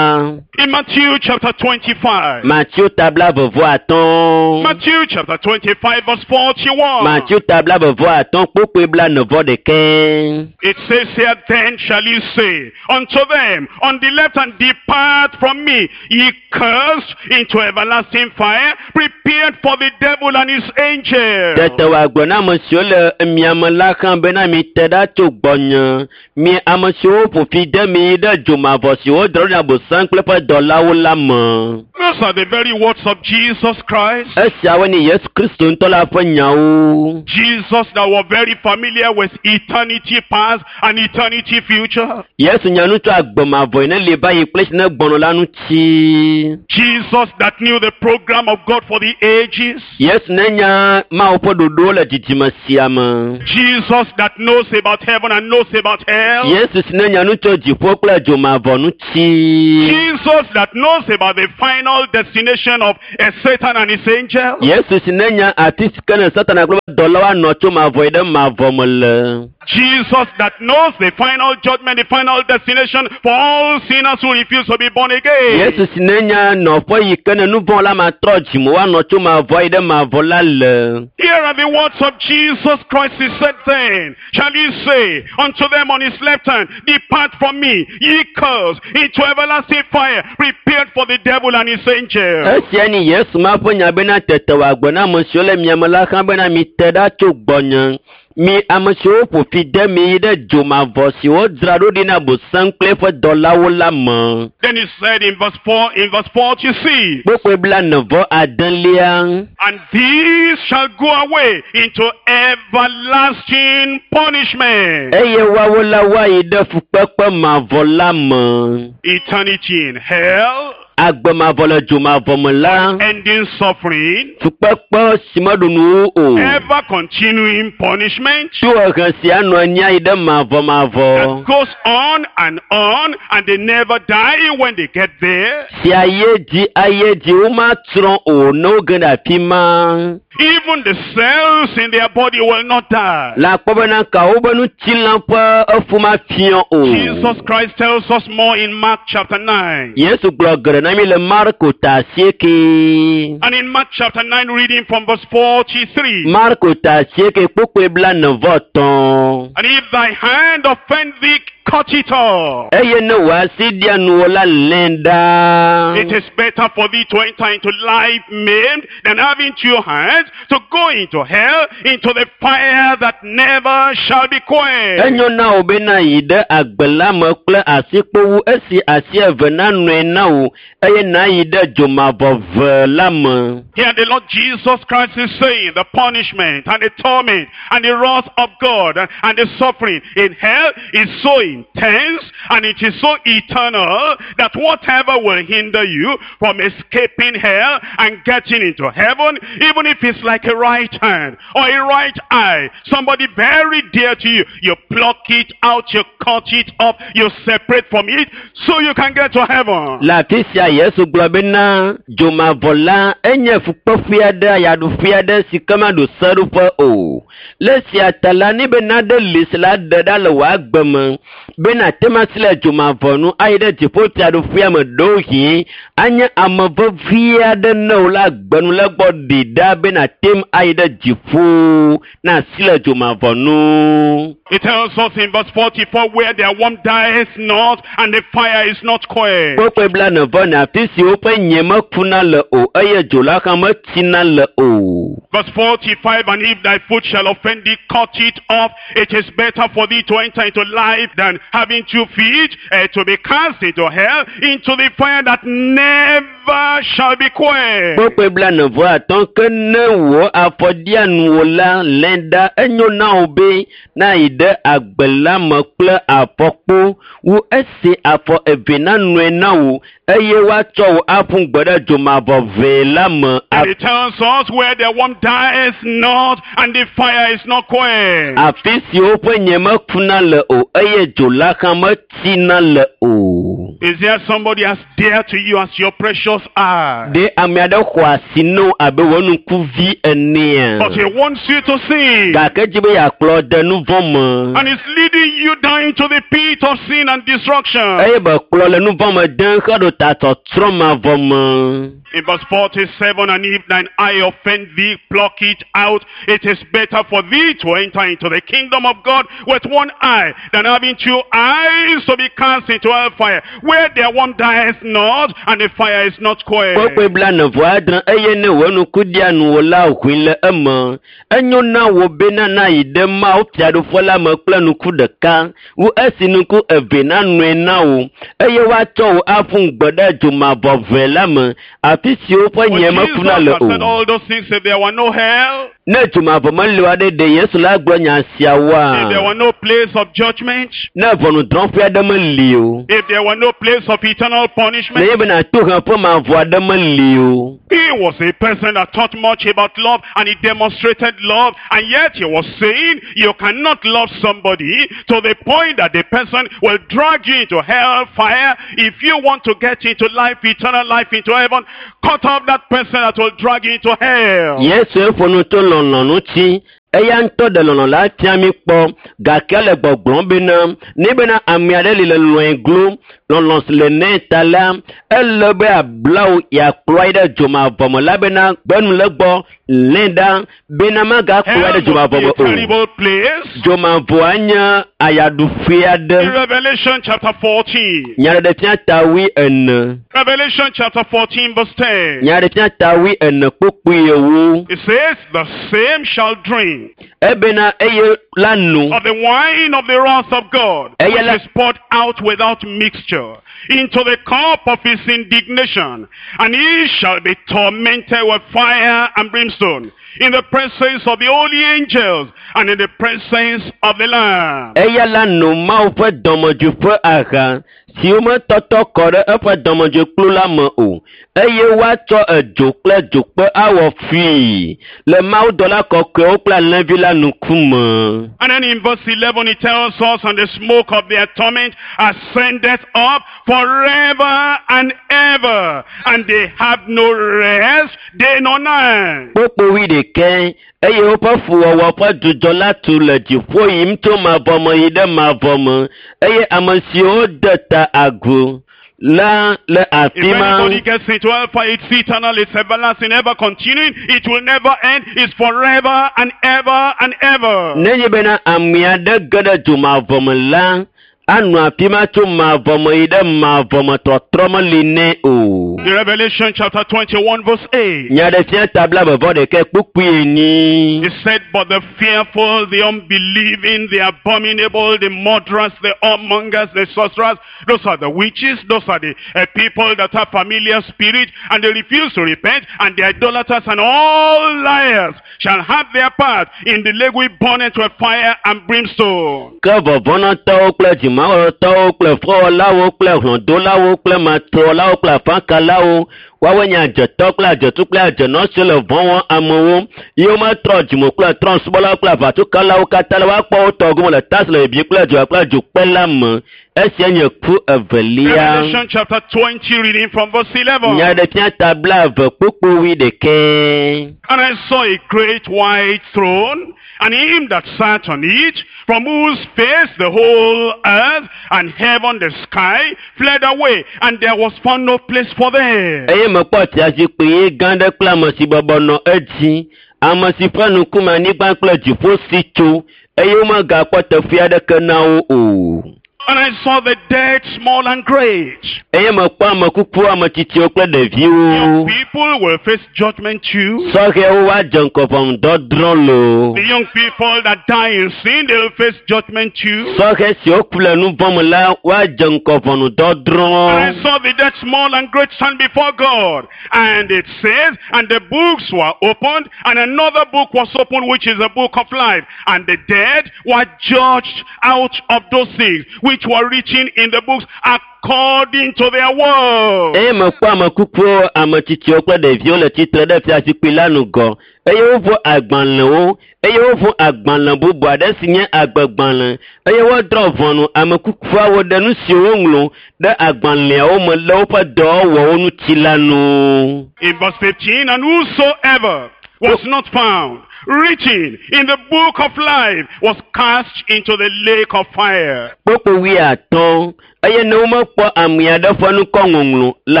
In Matthew chapter 25. Matthew ta 25. Matthew chapter 25 verse 41. Matthew ta 25 kpukpui 41. It says here, then shall he say unto them on the left hand, depart from me, ye cursed, into everlasting fire, prepared for the devil and his angels. Tete wòagblɔ na ame siwo le miame la hã bena mite ɖa tso gbɔnye. Mi ame siwo ƒo fi de mi yi ɖe dzomavɔ si wodrɔ̃ ɖe Abosam kple eƒe dɔlawo la me. Those are the very words of Jesus Christ. Esiawoe nye Yesu Kristo ŋutɔ la ƒe nyawo. Jesus that was very familiar with eternity past and eternity future. Yesu nya nu tso agbe mavɔ yi ne li va yi kple esi ne gbɔnɔ la ŋuti. Jesus that knew the program of God for the ages. Yesu ne nya Mawu ƒe ɖoɖowo le dzidzime sia me. Jesus that knows about heaven and knows about hell. Yesu si ne nya nu tso dziƒo kple dzomavɔ ŋuti. Jesus that knows about the final destination of Satan and his angels. Yesu si ne nya afi si ke ne Satana kple eƒe dɔlawo anɔ tso mavɔ yi ɖe mavɔ me le. Jesus that knows the final judgment, the final destination for all sinners who refuse to be born again. Yesu si ne nya nɔƒe yi ke ne nu vɔ̃ la matrɔ dzime woanɔ tso mavɔ yi ɖe mavɔ la le. Here are the words of Jesus Christ. He said then, shall he say unto them on his left hand, depart from me, ye cursed, into everlasting fire, prepared for the devil and his angels. Esia nye Yesu ma ƒe nya bena tete wòagblɔ na ame siwo le miame la hã bena mite ɖa tso gbɔnye. Mi ame siwo ƒo fi de mi yi ɖe dzomavɔ si wodzra ɖo ɖi na Abosam kple eƒe dɔlawo la me. Then he said in verse 4, in verse 46, Kpukpui 46. And these shall go away into everlasting punishment. Eye woawo la woayi ɖe fukpekpe mavɔ la me. Eternity in hell. Agbe mavɔ le dzomavɔ me la. Ending suffering. Fukpekpe si meɖu nu o. Ever continuing punishment. Tohehe si anɔ anyi ayi ɖe mavɔmavɔ. That goes on and on, and they never die when they get there. Si ayi edzi ayi edzi womatsrɔ̃ o ne woge ɖe afi ma. Even the cells in their body will not die. Le akpɔ bena kawo be ŋutilã ƒe efu mafiɔ o. Jesus Christ tells us more in Mark chapter 9. Yesu gblɔ geɖe na mi le Marko ta 8. And in Mark chapter 9, reading from verse 43. Marko ta 8 kpukpui 43. And if thy hand offend thee, cut it off. Eye ne wò asi ɖia nuwò la, lẽe ɖa. It is better for thee to enter into life maimed than having two hands to go into hell, into the fire that never shall be quenched. Enyo na wò be nàyi ɖe agbe la me kple asikpo wu esi asi eve nanɔe na wò eye nàyi ɖe dzomavɔ ve la me. Here the Lord Jesus Christ is saying the punishment and the torment and the wrath of God and the suffering in hell is so intense and it is so eternal that whatever will hinder you from escaping hell and getting into heaven, even if it's like a right hand or a right eye, somebody very dear to you, you pluck it out, you cut it off, you separate from it so you can get to heaven. Le afi sia Yesu gblɔ bena dzomavɔ la enye fukpeƒe aɖe, ayaɖuƒe aɖe si ke maɖo seɖoƒe o. Le esia ta la, ne be naɖe li si la ɖe ɖa le wò agbe me be nàte ŋu asi le dzomavɔ nu ayi ɖe dziƒofiaɖuƒea me ɖewohĩ anye ame vevi aɖe ne wò le agbe nu le egbɔ ɖi ɖa be nàte ŋu ayi ɖe dziƒo na asi le dzomavɔ nu. It tells us in verse 44 where their worm dies not and the fire is not quenched. Kpukpui 44, afi si woƒe nye mekuna le o eye dzo la hã metsina le o. Verse 45, and if thy foot shall offend thee, cut it off. It is better for thee to enter into life than having 2 feet to be cast into hell, into the fire that never shall be quenched. Kpukpui 45, ke ne wò afɔ ɖia nuwò la, lẽ ɖa, enyo na wò be nayi ɖe agbe la me kple afɔkpo wu esi afɔ eve nanɔe na wò eye woatsɔ wò aƒu gbe ɖe dzomavɔ vee la me. And it tells us where the worm dies not and the fire is not quenched. Afi si woƒe nye mekuna le o eye dzo la hã metsina le o. Is there somebody as dear to you as your precious eye? Ɖe ame aɖe xɔ asi na wò abe wò ŋkuvi enea? But he wants you to sin. Gake edzi be yeakplɔ de nu vɔ̃ me. And is leading you down into the pit of sin and destruction. Eye be kplɔ le nu vɔ̃ me dem heɖo ta tsɔtsrɔ̃ mavɔ me. In verse 47, and if thine eye offend thee, pluck it out. It is better for thee to enter into the kingdom of God with one eye than having two eyes to be cast into hellfire, where their worm dieth not, and the fire is not quenched. Kpukpui 46 eye ne wò ŋku ɖia nuwò la ʋui le eme. Enyo na wò bena nayi ɖe Mawu fiaɖuƒe la me kple ŋku ɖeka wu esi ŋku eve nanɔe na wò eye woatsɔ wò aƒu gbe ɖe dzomavɔʋe la me afi si woƒe But nye Jesus mekuna le has said o. all those things if there were no hell, Ne dzomavɔ meli o aɖe ɖe Yesu la gblɔ nya if there siawoa? were no place of judgment, Ne ʋɔnudrɔ̃ƒe aɖe meli o. if there were no place of eternal punishment. Nenye bena toheƒe mavɔ aɖe meli o. He was a person that taught much about love and he demonstrated love, and yet he was saying you cannot love somebody to the point that the person will drag you into hell fire. If you want to get into life, eternal life, into heaven, cut off that person that will drag you into hell. Yesu ƒo nu tso lɔlɔ̃ ŋuti. Eya ŋutɔ ɖe lɔlɔ̃ la fia mí kpɔ gake ele gbɔgblɔm bena ne bena ame aɖe li le lɔ̃e glo lɔlɔ̃ si le nɛ ta la ele be abla wò yeakplɔe ɖe dzomavɔ me la bena gbenu le gbɔ lé ɖa bena magakplɔe Hell ɖe must dzomavɔ be me a o. terrible place. Dzomavɔa nye ayaɖuƒe aɖe. In Revelation chapter 14. Nyaɖeɖefia ta 14. Revelation chapter 14 verse 10. Nyaɖeɖefia ta 14 kpukpui 10. It says, the same shall drink Ebena eye la no. of the wine of the wrath of God, Eye which la- is poured out without mixture, into the cup of his indignation, and he shall be tormented with fire and brimstone, in the presence of the holy angels, and in the presence of the Lamb. Eya la no Mawu ƒe dɔmedzoe ƒe aha si wometɔtɔ kɔ ɖe eƒe dɔmedzoekplu la me o eye woatsɔ edzo kple dzokpe awɔ fui le mawudɔla kɔkɔewo kple alẽvi la ŋkume. And then in verse 11 it tells us, and the smoke of their torment ascendeth up forever and ever, and they have no rest day nor night. Kpukpui 11 eye woƒe fuwɔwɔ ƒe dzudzɔ la tu le dziƒo yim tso mavɔ me yi ɖe mavɔ me eye ame siwo de ta agu la le If afi ma. anybody gets into hellfire, it's eternal, it's everlasting, ever continuing, it will never end, it's forever and ever and ever. Nenye bena ame aɖe ge ɖe dzomavɔ me la, anɔ afi ma tso mavɔ me yi ɖe mavɔ me tɔtrɔ meli nɛ o. In Revelation chapter 21 verse 8, Nyaɖefia ta 21 kpukpui 4. it said, but the fearful, the unbelieving, the abominable, the murderers, the whoremongers, the sorcerers, those are the witches, those are the people that have familiar spirit, and they refuse to repent, and the idolaters and all liars shall have their part in the lake which burneth with fire and brimstone. Ke vɔvɔ̃nɔtɔwo kple dzimawɔtɔwo kple fɔwɔlawo kple hlɔ̃dolawo kple matrɔlawo kple afakalawo woawoe nye adzetɔ kple adzetu kple adzenɔ siwo le vɔ̃ wɔm amewo ye wometrɔ dzime kple trɔ̃subɔlawo kple aʋatsokalawo katã la woakpɔ wo tɔ gome le ta si le bibim kple dzoa kple dzokpe la me. Esia nye ku evelia. Revelation chapter 20, reading from verse 11. Nyaɖefia ta 20 kpukpui 11. And I saw a great white throne, and him that sat on it, from whose face the whole earth and heaven the sky fled away, and there was found no place for them. Eye mekpɔ fiazikpui ɣi gã aɖe kple ame si bɔbɔ nɔ edzi, ame si ƒe ŋkume anyigba kple dziƒo si tso eye womegakpɔ teƒe aɖeke na wo o. And I saw the dead, small and great. Eye mekpɔ ame kukuwo, ame tsitsiwo kple Young ɖeviwo. people will face judgment too. Sɔhɛwo woadze ŋgɔ ʋɔnudɔdrɔ̃ loo. The young people that die in sin, they will face judgment too. Sɔhɛ siwo ku le nu vɔ̃ me la woadze ŋgɔ ʋɔnudɔdrɔ̃. And I saw the dead, small and great, stand before God. And it says, and the books were opened, and another book was opened, which is the book of life. And the dead were judged out of those things which which were written in the books according to their works. Eye mekpɔ ame kukuwo, ame tsitsiwo kple ɖeviwo le tsitre ɖe fiazikpui la ŋgɔ eye woʋu agbalẽwo eye woʋu agbalẽ bubu aɖe si nye agbegbalẽ eye wodrɔ̃ ʋɔnu ame kukuawo ɖe nu siwo woŋlɔ ɖe agbalẽawo me le woƒe dɔwɔwɔwo ŋuti la nu. In verse 15, and whosoever was not found written in the book of life was cast into the lake of fire. Kpukpui wuiatɔ̃ eye ne womekpɔ ame aɖe ƒe ŋkɔ ŋɔŋlɔ le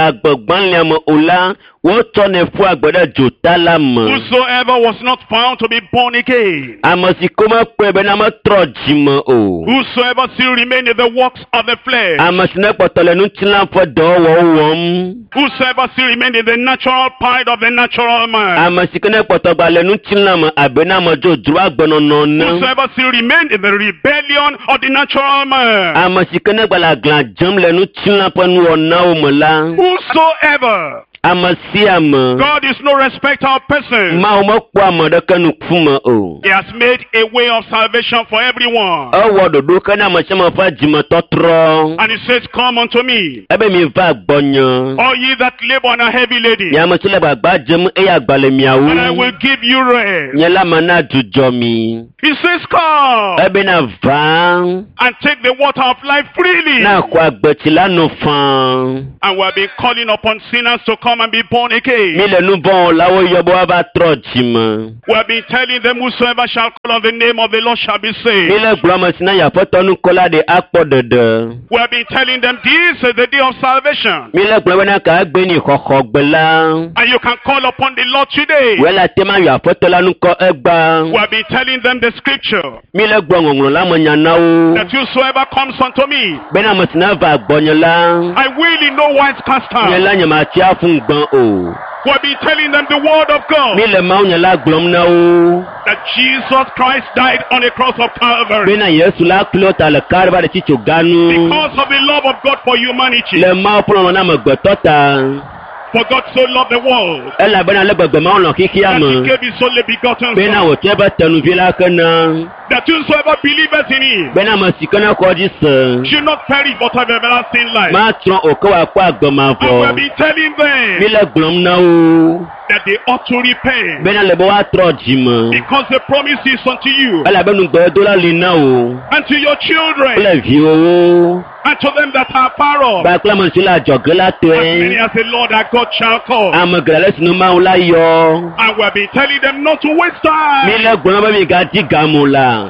agbegbalẽa me o la, wotsɔnɛ ƒua gbe ɖe dzota la me. Whosoever was not found to be born again, Ame si ke womekpɔe bena metrɔ dzime o. whosoever still remained in the works of the flesh, Ame si nekpɔtɔ le ŋutilã ƒe dɔwɔwɔwo wɔm. whosoever still remained in the natural pride of the natural man, Ame si ke nekpɔtɔ gba le ŋutilã me abe na ame dzodzro agbenɔnɔ ene. whosoever still remained in the rebellion of the natural man, Ame si ke negba le aglã dzem le ŋutilã ƒe nuwɔnawo me la. whosoever, Ame sia ame. God is no respecter of persons. Mawu mekpɔa ame ɖeke ŋkume o. He has made a way of salvation for everyone. Ewɔ ɖoɖo ke na ame sia ame ƒe dzimetɔtrɔ. And he says, Come unto me, Ebe mi va gbɔnye. all ye that labor and are heavy laden, Nye ame si le gbagba dzem eye agba le miawo. and I will give you rest. Nye la mana dzudzɔ mi. He says, Come Ebena va and take the water of life freely. na xɔ agbetsi la no faa. And we have been calling upon sinners to come and be born again. Mi le nu vɔ̃wɔlawo yɔ be woava trɔ dzime. We have been telling them, Whosoever shall call on the name of the Lord shall be Mi saved. le gblɔ ame si na yi aƒetɔ nukɔla ɖe akpɔ ɖeɖe. We have been telling them, This is the day of salvation. Mi le gblɔ bena ka egbe ni xɔxɔgbe la. And you can call upon the Lord today. Wòe le ate ma yɔ aƒetɔ la nukɔ egba. We have been telling them the scripture Mi le gblɔ ŋɔŋlɔ la me nya na wo. that whosoever comes unto me, Bena ame si na va gbɔnye la. I will in no wise cast Nye out. la nye ma tsi aƒu gbã o. We have been telling them the word of God Mi le Mawu nye la gblɔm na wo. that Jesus Christ died on the cross of Calvary Bena Yesu la klo ta le Kalvari tsitso ganu. because of the love of God for humanity. Le Mawu ƒe lɔlɔ̃ na amegbetɔ ta. For God so loved the world Elabena le gbegbe Mawu lɔ̃ xexea that he me. gave his only begotten Bena Son, wòtsɔ eƒe tenuvi la ke na. that whosoever believeth in him Bena ame si ke ne xɔ dzi se. should not perish but have everlasting life. Matsrɔ̃ o ke wòakpɔ agbe And we have mavɔ. been telling Mi them le gblɔm na wo. that they ought to repent Bena le be woatrɔ dzime. because the promise is unto you Elabe nugbedola li na wo. and to your children Kple viwòwo. and to them that are far off, Kpakple ame siwo le adzɔge la as many tɔe. as the Lord our God shall call. Ame geɖe le si nu Mawu la yɔ. And we have been telling them not to waste Mi time. le gblɔm be migadi game o la.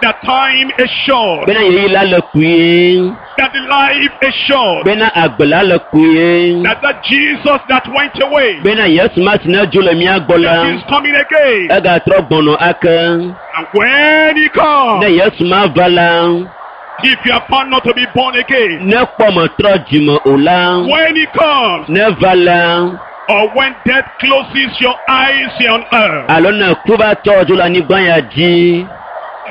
That time is short. Bena ɣeyiɣi la le kpuie. That the life is short. Bena agbe la le kpuie. That Jesus that went away, Bena Yesu ma si ne dzo le mía gbɔ la. that is coming again. Egatrɔ gbɔnɔ ake. And when he comes, Ne Yesu ma va la. if you are found not to be born again, Ne kpɔ metrɔ dzime o la. when he comes, Ne va la. or when death closes your eyes here on earth, Alo ne ku va tɔ dzo le anyigba ya dzi.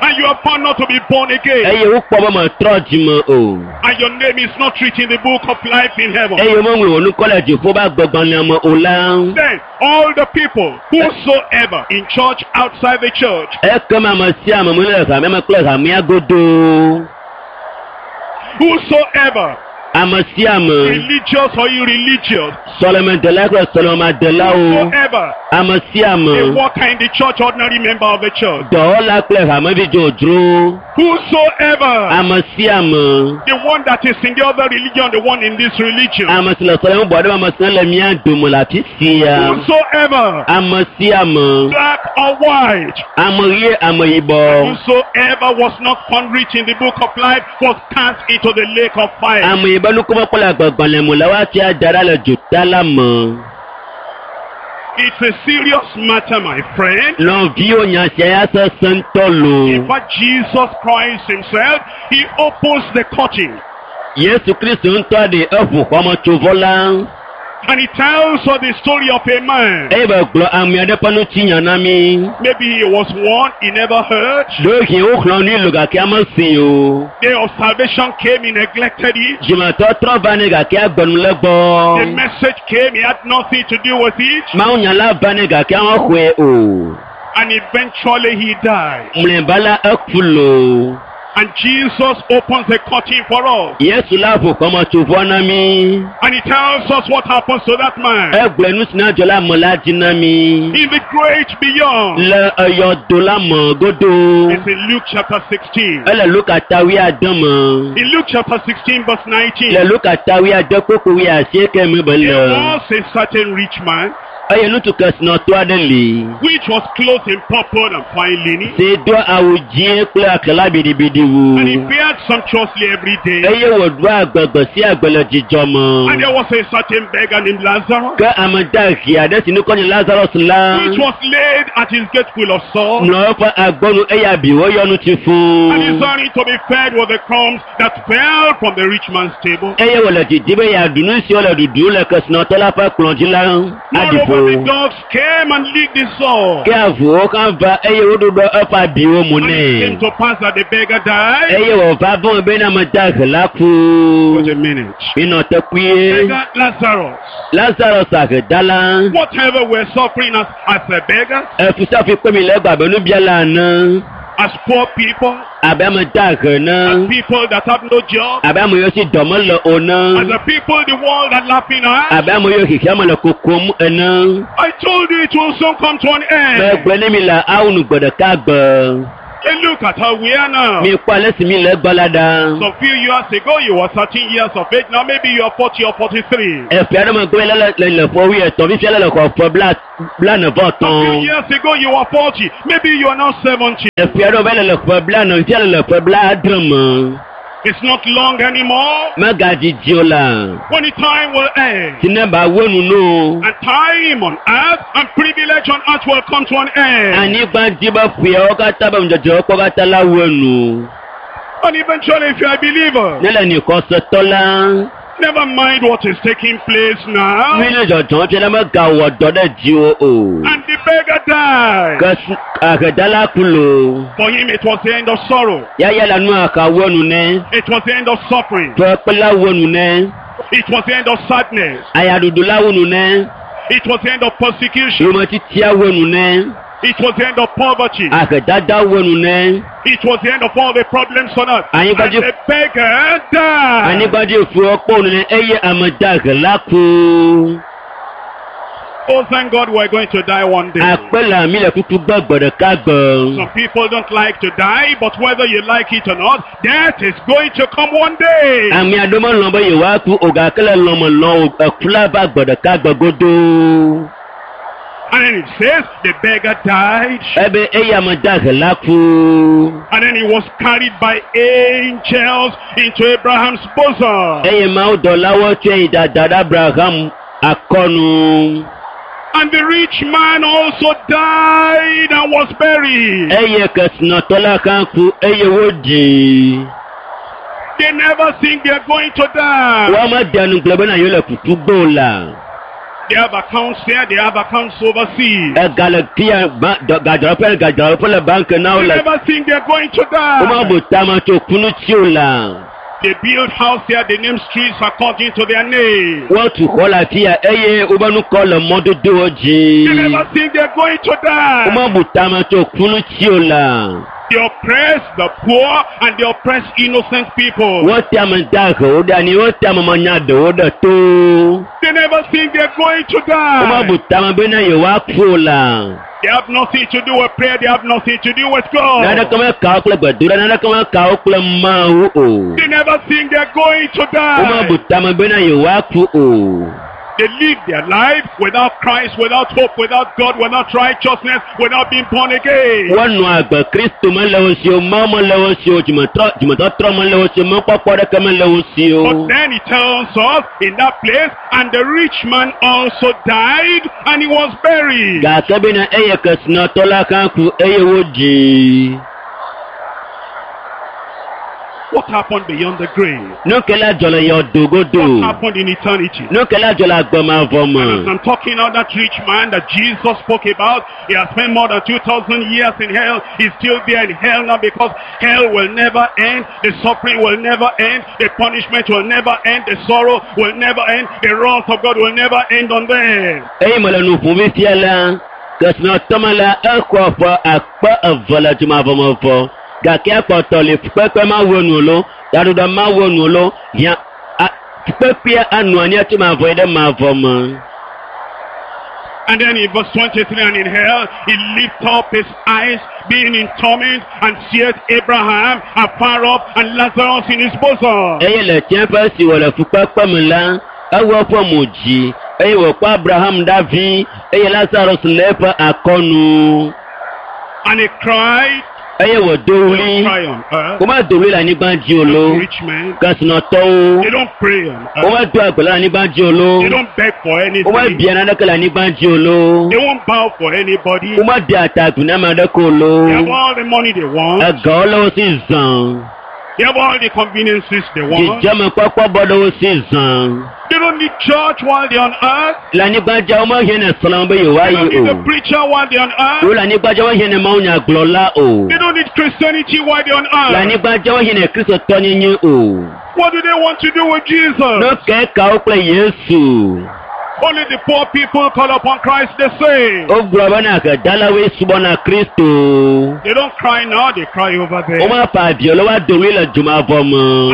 and you are found not to be born again, Eye wokpɔ be metrɔ dzime o. and your name is not written in the book of life in heaven, Eye womeŋlɔ wò ŋkɔ le dziƒo be agbegbalẽa me o la. then all the people, whosoever in church, outside the church, Ekema ame sia ame mele hamea me kple hamea godoo. whosoever, Ame sia ame, religious or irreligious, sɔlemedela kple sɔlemadelawo. whosoever, Ame sia a ame, worker in the church, ordinary member of the church, dɔwɔla kple hamevi dzodzro. whosoever, Ame sia ame, the one that is in the other religion, the one in this religion, ame si le sɔleme bɔ ɖe ame si le mía dome le afi sia. whosoever, Ame sia ame, black or white, ame ɣie ame yibɔ. whosoever was not found written in the book of life was cast into the lake of fire. Ame yi be ŋkɔ mekpɔ le agbegbalẽ me o la, woatia da ɖa le dzota la me. It's a serious matter, my friend. Nɔviwo nya sia ya sesẽ ŋutɔ loo. In fact, Jesus Christ himself, he opens the curtain Yesu Kristu ŋutɔ ɖe eʋu xɔmetsovɔ la and he tells us the story of a man. eye be gblɔ ame aɖe ƒe ŋutinya na mí. Maybe he was one he never heard. Ɖewohĩ woxlɔ̃ nui lo gake ame si o. Day of salvation came, he neglected it. Dzimetɔtrɔ va nɛ gake agbe nu le The gbɔ. message came, he had nothing to do with it. Mawunya la va nɛ gake mexɔe o. And eventually he died. Mlɔeba la eku loo. And Jesus opens the curtain for us. Yesu la ʋu xɔmetsovɔ na mí. And he tells us what happens to that man. Egblɔe nu si na dzɔ le ame la dzi na mí. In the great beyond. Le eyɔdo la me godo. It's in Luke chapter 16. Ele Luka ta wuiade me. In Luke chapter 16 verse 19. Le Luka ta wuiade kpukpui wuiasieke me be There le. was a certain rich man Eye ŋutsu kesinɔtɔ aɖe li. which was clothed in purple and fine linen, Si do awu dzĩ kple aklala biɖibiɖi wu. and he fared sumptuously every day. Eye wòɖoa agbe gbe sia gbe le dzidzɔ And me. there was a certain beggar named Lazarus, Ke ame dahe aɖe si ŋkɔ nye Lazarus la which was laid at his gate full of sores, nɔ eƒe agbɔnu eye abiwo yɔ nu tsi and fũu. desiring to be fed with the crumbs that fell from the rich man's table. Eye wòle didi be yeaɖu nu siwo le ɖuɖum le kesinɔtɔ la ƒe kplɔ̃ dzi la aɖi Moreover, the ƒo. dogs came and licked the sore. Ke avuwo hã va eye woɖuɖɔ eƒe abiwo mu And it came nɛ. to pass that the beggar died. Eye wòva vɔ̃ bena ame dahe la ku. Wait a minute. Minɔ te kpuie. Beggar Lazarus. Lazarus ahedala. Whatever we're suffering as a beggar, Efusiafu kpe mi le egbe abe nubiala ene. as poor people, Abe ame dahe as ene. people that have no job, Abe ame yiwo si dɔ mele o as ene. the people the world are laughing at. Abe ame yiwo xexea me le kokom ene. I told you it will soon come to an end. Megblɔ ne mi le awu nu gbe ɖeka gbe. And look at how we are now. Mi kpɔ ale si mi le egbe la ɖa. Some few years ago, you were 13 years of age. Now maybe you are 40 or 43. Eƒe aɖe megbe le le le le ƒe wuietɔ̃ fifia le le xɔ ƒe bla blane vɔ Some few tɔ̃. years ago, you were 40. Maybe you are now 70. Eƒe aɖewo va le le ƒe blane fifia le le ƒe blaadre me. It's not long anymore. Megadidi o la. When the time will end. Si ne ba wo nu no. And time on earth and privilege on earth will come to an end. Anyigba dzi be ƒeawo katã be ŋudzedzewo kpɔ katã la wo nu. And eventually, if you are a believer, Ne le ni xɔsetɔ la, never mind what is taking place now. mi ne dzɔdzɔm fia la megawɔ dɔ ɖe dziwò o. And the beggar died. Ke ahedala ku lo. For him, it was the end of sorrow. Yaya la nu aka wo nu ne. It was the end of suffering. Ƒe kple la wo nu ne. It was the end of sadness. Ayaɖuɖu la wo nu ne. It was the end of persecution. Yometitia wo nu ne. It was the end of poverty. Ahedada wo nu ne. It was the end of all the problems on earth. And Anyigba the beggar died. anyigba dzi fuwo kpɔ nu ne eye ame dahe la ku. Oh, thank God we're going to die one day. Akpe le mi le kuku gbe gbe ɖeka gbe. Some people don't like to die, but whether you like it or not, death is going to come one day. Ame aɖewo melɔ̃ be yewoaku o gake le lɔ̃me lɔ̃ o eku la va gbe ɖeka gbe godoo. And then it says the beggar died, Ebe eye ame dahe la ku. and then he was carried by angels into Abraham's bosom. Eye mawudɔlawo tsɔe yi dada ɖe Abraham akɔnu. And the rich man also died and was buried. Eye kesinɔtɔ la hã ku eye woɖii. They never think they're going to die. Womede nu gblɔ bena yewo le kuku gbe o la. They have accounts here, they have accounts overseas. Ega le fia ba dɔ- gadzraɖoƒe le gadzraɖoƒe le banki na wo They le. never think they're going to die. Womebu tame tso ku ŋuti o la. They build house here, they name streets according to their name. Wotu xɔ le afia eye wobe nukɔ le mɔdodowo dzi. They never think they're going to die. Womebu tame tso ku ŋuti o la. They oppress the poor and they oppress innocent people. Wote ame dahewo ɖe anyi, wote ame manyaɖewo ɖe to. They never think they're going to die. Womebu tame bena yewoaku o la. They have nothing to do with prayer, they have nothing to do with God. Naneke meka wo kple gbedoɖa, naneke meka wo kple Mawu o. They never think they're going to die. Womebu tame bena yewoaku o. They live their life without Christ, without hope, without God, without righteousness, without being born again. Wonɔ agbe Kristo mele wo si o, Mawu mele wo si o, dzimetrɔ dzimetɔtrɔ mele wo si o, mɔkpɔkpɔ ɖeke mele wo si o. But then he tells us in that place, and the rich man also died and he was buried. Gake bena eye kesinɔtɔ la hã ku eye woɖii. What happened beyond the grave? Nu ke la dzɔ le yɔdo godo. What happened in eternity? Nu ke la dzɔ le agbemavɔ As me. I'm talking now, that rich man that Jesus spoke about, he has spent more than 2,000 years in hell. He's still there in hell now because hell will never end. The suffering will never end. The punishment will never end. The sorrow will never end. The wrath of God will never end on them. Eye mele nu ƒom fifia la, kesinɔtɔ me la, exɔ ƒe akpe eve le dzomavɔmevɔ. Gake akpɔtɔ le fukpekpe ma wu enu lo, yaɖuɖɔ ma wu enu lo, hiã fukpekpea anɔ anyi tso mavɔ yi ɖe mavɔ me. And then in verse 23, and in hell, he lift up his eyes, being in torment, and seeth Abraham afar off, and Lazarus in his bosom. Eye le tsiẽƒe si wòle fukpekpe me la, ewɔ eƒe mo dzi eye wòkpɔ Abraham ɖavi eye Lazarus le eƒe akɔnu. And he cried, Eye wòdo They don't ɣli. cry on earth. Womedo ɣli le anyigba dzi o lo. Rich men, Kesinɔtɔwo, they don't pray on earth. womedoa gbe le anyigba dzi o lo. They don't beg for anything. Womebia naneke le anyigba dzi o lo. They won't bow for anybody. Womedea ta agu na ame aɖeke o lo. They have all the money they want. Egawo le wo si zã. They have all the conveniences they want. Dzidzemekpɔkpɔ bɔ ɖe wo si zã. They don't need church while they're on earth. Le anyigba dzia womehiã ne srɔ̃ be They yewoayi don't need o. a preacher while they're on earth. Wole anyigba dzia womehiã ne mawunyagblɔla o. They don't need Christianity while they're on Le earth. anyigba dzia womehiã ne kristotɔnyenye o. What do they want to do with Jesus? Nu kae ka wo kple Yesu? Only the poor people call upon Christ, they say. Wogblɔ bena ahedalawoe subɔna Kristo. They don't cry now, they cry over there. Womefa avi o le woado ɣli le dzomavɔ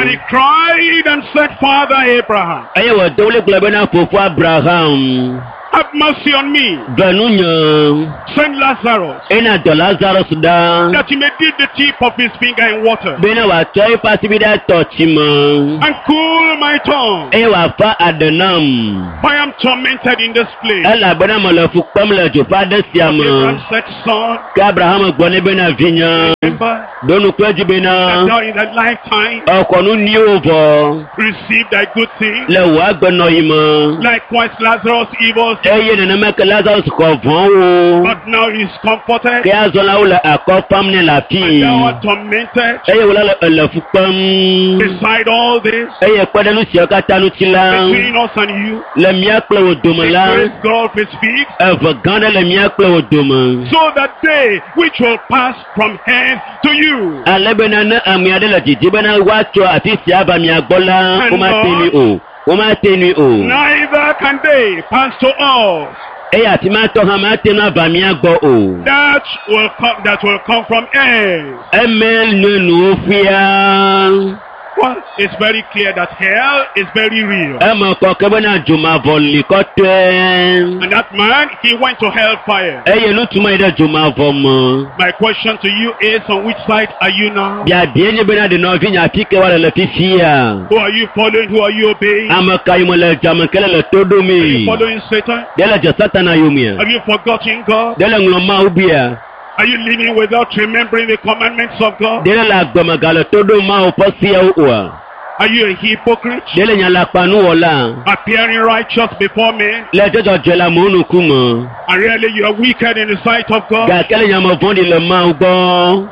And he me. cried and said, Father Abraham, Eye wòdo ɣli gblɔ bena fofo Abraham, have mercy on me. ve nunye. Send Lazarus Ena dɔ Lazarus ɖa that he may dip the tip of his finger in water bena wòatsɔ eƒe asibi ɖe atɔ tsi me and cool my tongue. eye wòafa aɖe nam. For I am tormented in this place. Elabena mele fu kpem le dzoƒe aɖe sia me. Abraham said, Son, Ke Abraham gblɔ nɛ bena vinye, remember ɖo ŋku edzi bena that thou in thy lifetime exɔ nu nyuiwo vɔ received thy good things. le wò agbenɔɣi me. Likewise, Lazarus evil, Eye nenema ke Lazarus xɔ vɔ̃wo. but now he is comforted. Ke azɔ la wole akɔ fam nɛ le afii. And thou art tormented. Eye wòle le ele fu kpem. Beside all this, Eye kpe ɖe nu siawo katã ŋuti la, between us and you, le mía kple wò dome a la, great gulf is fixed, eve gã ɖe le mía kple wò dome. so that they which will pass from hence to you Ale bena ne ame aɖe le didi bena woatso afi sia va mia gbɔ la, womate nui o. Womate nui o. neither can they pass to us Eye afi ma tɔ hã mate ŋu ava mía gbɔ o. that will come from hence. Eme nue nuwo fia. Well, it's very clear that hell is very real. Eme kɔ ke bena dzomavɔ li kɔtɔe. And that man, he went to hellfire. Eye ŋutsu ma yi ɖe dzomavɔ me. My question to you is, on which side are you now? Biabia nye bena ɖe nɔvinye afi ke woale le fifia. Who are you following? Who are you obeying? Ame ka yome le dzame ke le le to Are you ɖomee? following Satan? Ɖe le dze Satana yomea? Have you forgotten God? Ɖe le ŋlɔ Mawu bia? Are you living without remembering the commandments of God? Ɖe le le agbeme gale to ɖom Mawu ƒe seawo oa? Are you a hypocrite? Ɖe le nyalakpanuwɔla? Appearing righteous before men, Le dzɔdzɔdzɔe le amewo ŋkume. and really you are wicked in the sight of God? Gake le nyame vɔ̃ɖi le Mawu gbɔ.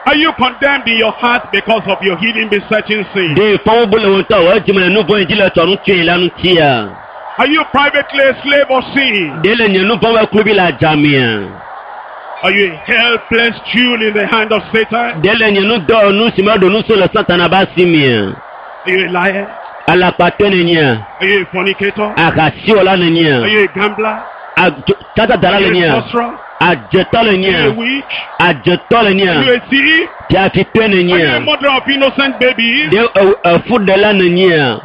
Are you condemned in your heart because of your hidden besetting sin? Ɖe fɔwo bu le wo ŋutɔ wò edzime le nu vɔ̃ yi dzi le tsɔ nu tsoe la ŋutia? Are you privately a slave of sin? Ɖe le nye nu vɔ̃ ƒe kluvi le adzamea? Are you a helpless jewel in the hand of Satan? Ɖe le nye nu dɔwɔnu si meɖo nu so le Satana ƒe asi mea? Are you a liar? Alakpatɔe nenye? Are you a fornicator? Ahasiwɔla Are nenye? you a gambler? Tsatsadala Are you a nenye? sorcerer? Adzetɔ Are you a nenye? witch? Adzetɔ Are nenye? you a thief? Fiafitɔe Are you a nenye? murderer of innocent babies? Ɖe efuɖela nenye?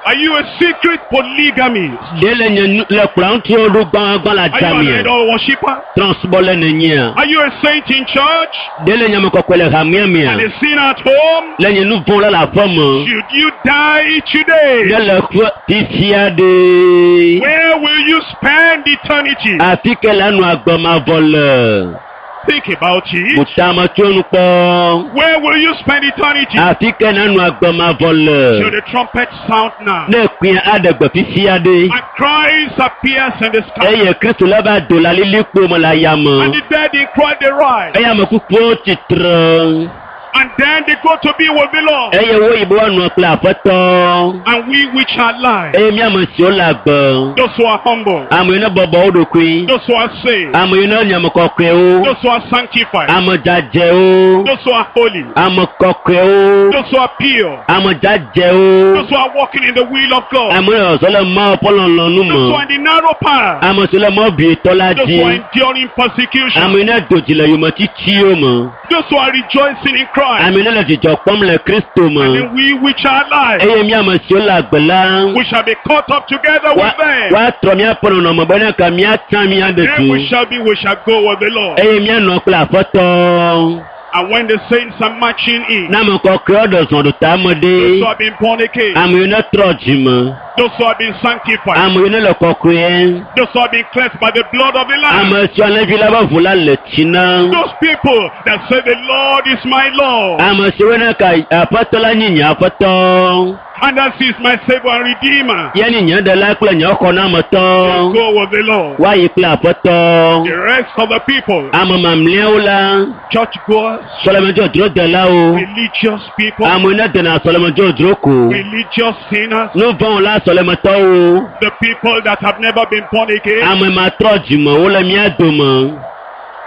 Are you a secret polygamist? Ɖe le nye nu le kplɔ ŋutsuwo ɖo gbãgbã le Are you an adzamea? idol worshipper? Trɔ̃subɔla nenye? Are you a saint in church Ɖe le nye ame kɔkɔe le hamea mea? and a sinner at home? Le nye nu vɔ̃ la le aƒe me? Should you die today? Ɖe le ƒe fifia ɖe? Where will you spend eternity? Afi ke le anɔ agbe mavɔ le? Think about it. Butame tso nu kpɔ. Where will you spend eternity? Afi ke nanɔ agbe mavɔ le? Should the trumpet sound now? Ne kpẽ aɖe gbe fifia ɖe. And Christ appears in the sky. Eye Kristo la va do le alilikpo me le And ayame. the dead in Christ they rise. Eye ame kukuwo tsitre. And then they go to be with the Lord. Eye woyi be woanɔ kple Aƒetɔ. And we which are alive, Eye mía ame siwo le agbe. those who are humble, Ame yiwo ne bɔbɔ wo ɖokui. those who are saved, Ame yiwo ne nye ame kɔkɔewo. those who are sanctified, Ame dzadzɛwo. those who are holy, Ame kɔkɔewo. those who are pure, Ame dzadzɛwo. those who are walking in the will of God, Ame yiwo zɔ le Mawu ƒe lɔlɔ̃nu those who me. are in the narrow path, Ame siwo le mɔ bietɔ la those who are dzi. enduring persecution, Ame yiwo ne do dzi le yometitiwo me. Those who are rejoicing in Christ. Ame ne le dzidzɔ kpɔm le Kristo me. And we which are alive, Eye mía ame siwo le agbe la, we shall be caught up together with them. woatrɔ míaƒe nɔnɔme bena ka míatsa mía Then we ɖetu. shall be, we shall go with the Lord. Eye míanɔ kple Aƒetɔ. And when the saints are marching in, Ne ame kɔkɔewo ɖe zɔ ɖo tame those who ɖe, have been born again, ame yiwo ne trɔ dzime, those who have been sanctified, ame yiwo ne le kɔkɔe, those who have been cleansed by the blood of the Lamb, ame siwo alẽvi la ƒe ʋu la le tsi na, those people that say the Lord is my Lord, ame siwo ne ka Aƒetɔ la nye nye Aƒetɔ, and that is my Savior and Redeemer, ye nye nye ɖela kple nye xɔnametɔ, will go with the Lord. woayi kple Aƒetɔ. The rest of the people, Ame mamlɛawo la, churchgoers, sɔlemedzodzrodelawo, religious people, ame yiwo ne dena sɔlemedzodzro ko, religious sinners, nu vɔ̃wɔla sɔlemetɔwo, the people that have never been born again, ame matrɔ dzimewo le mía dome.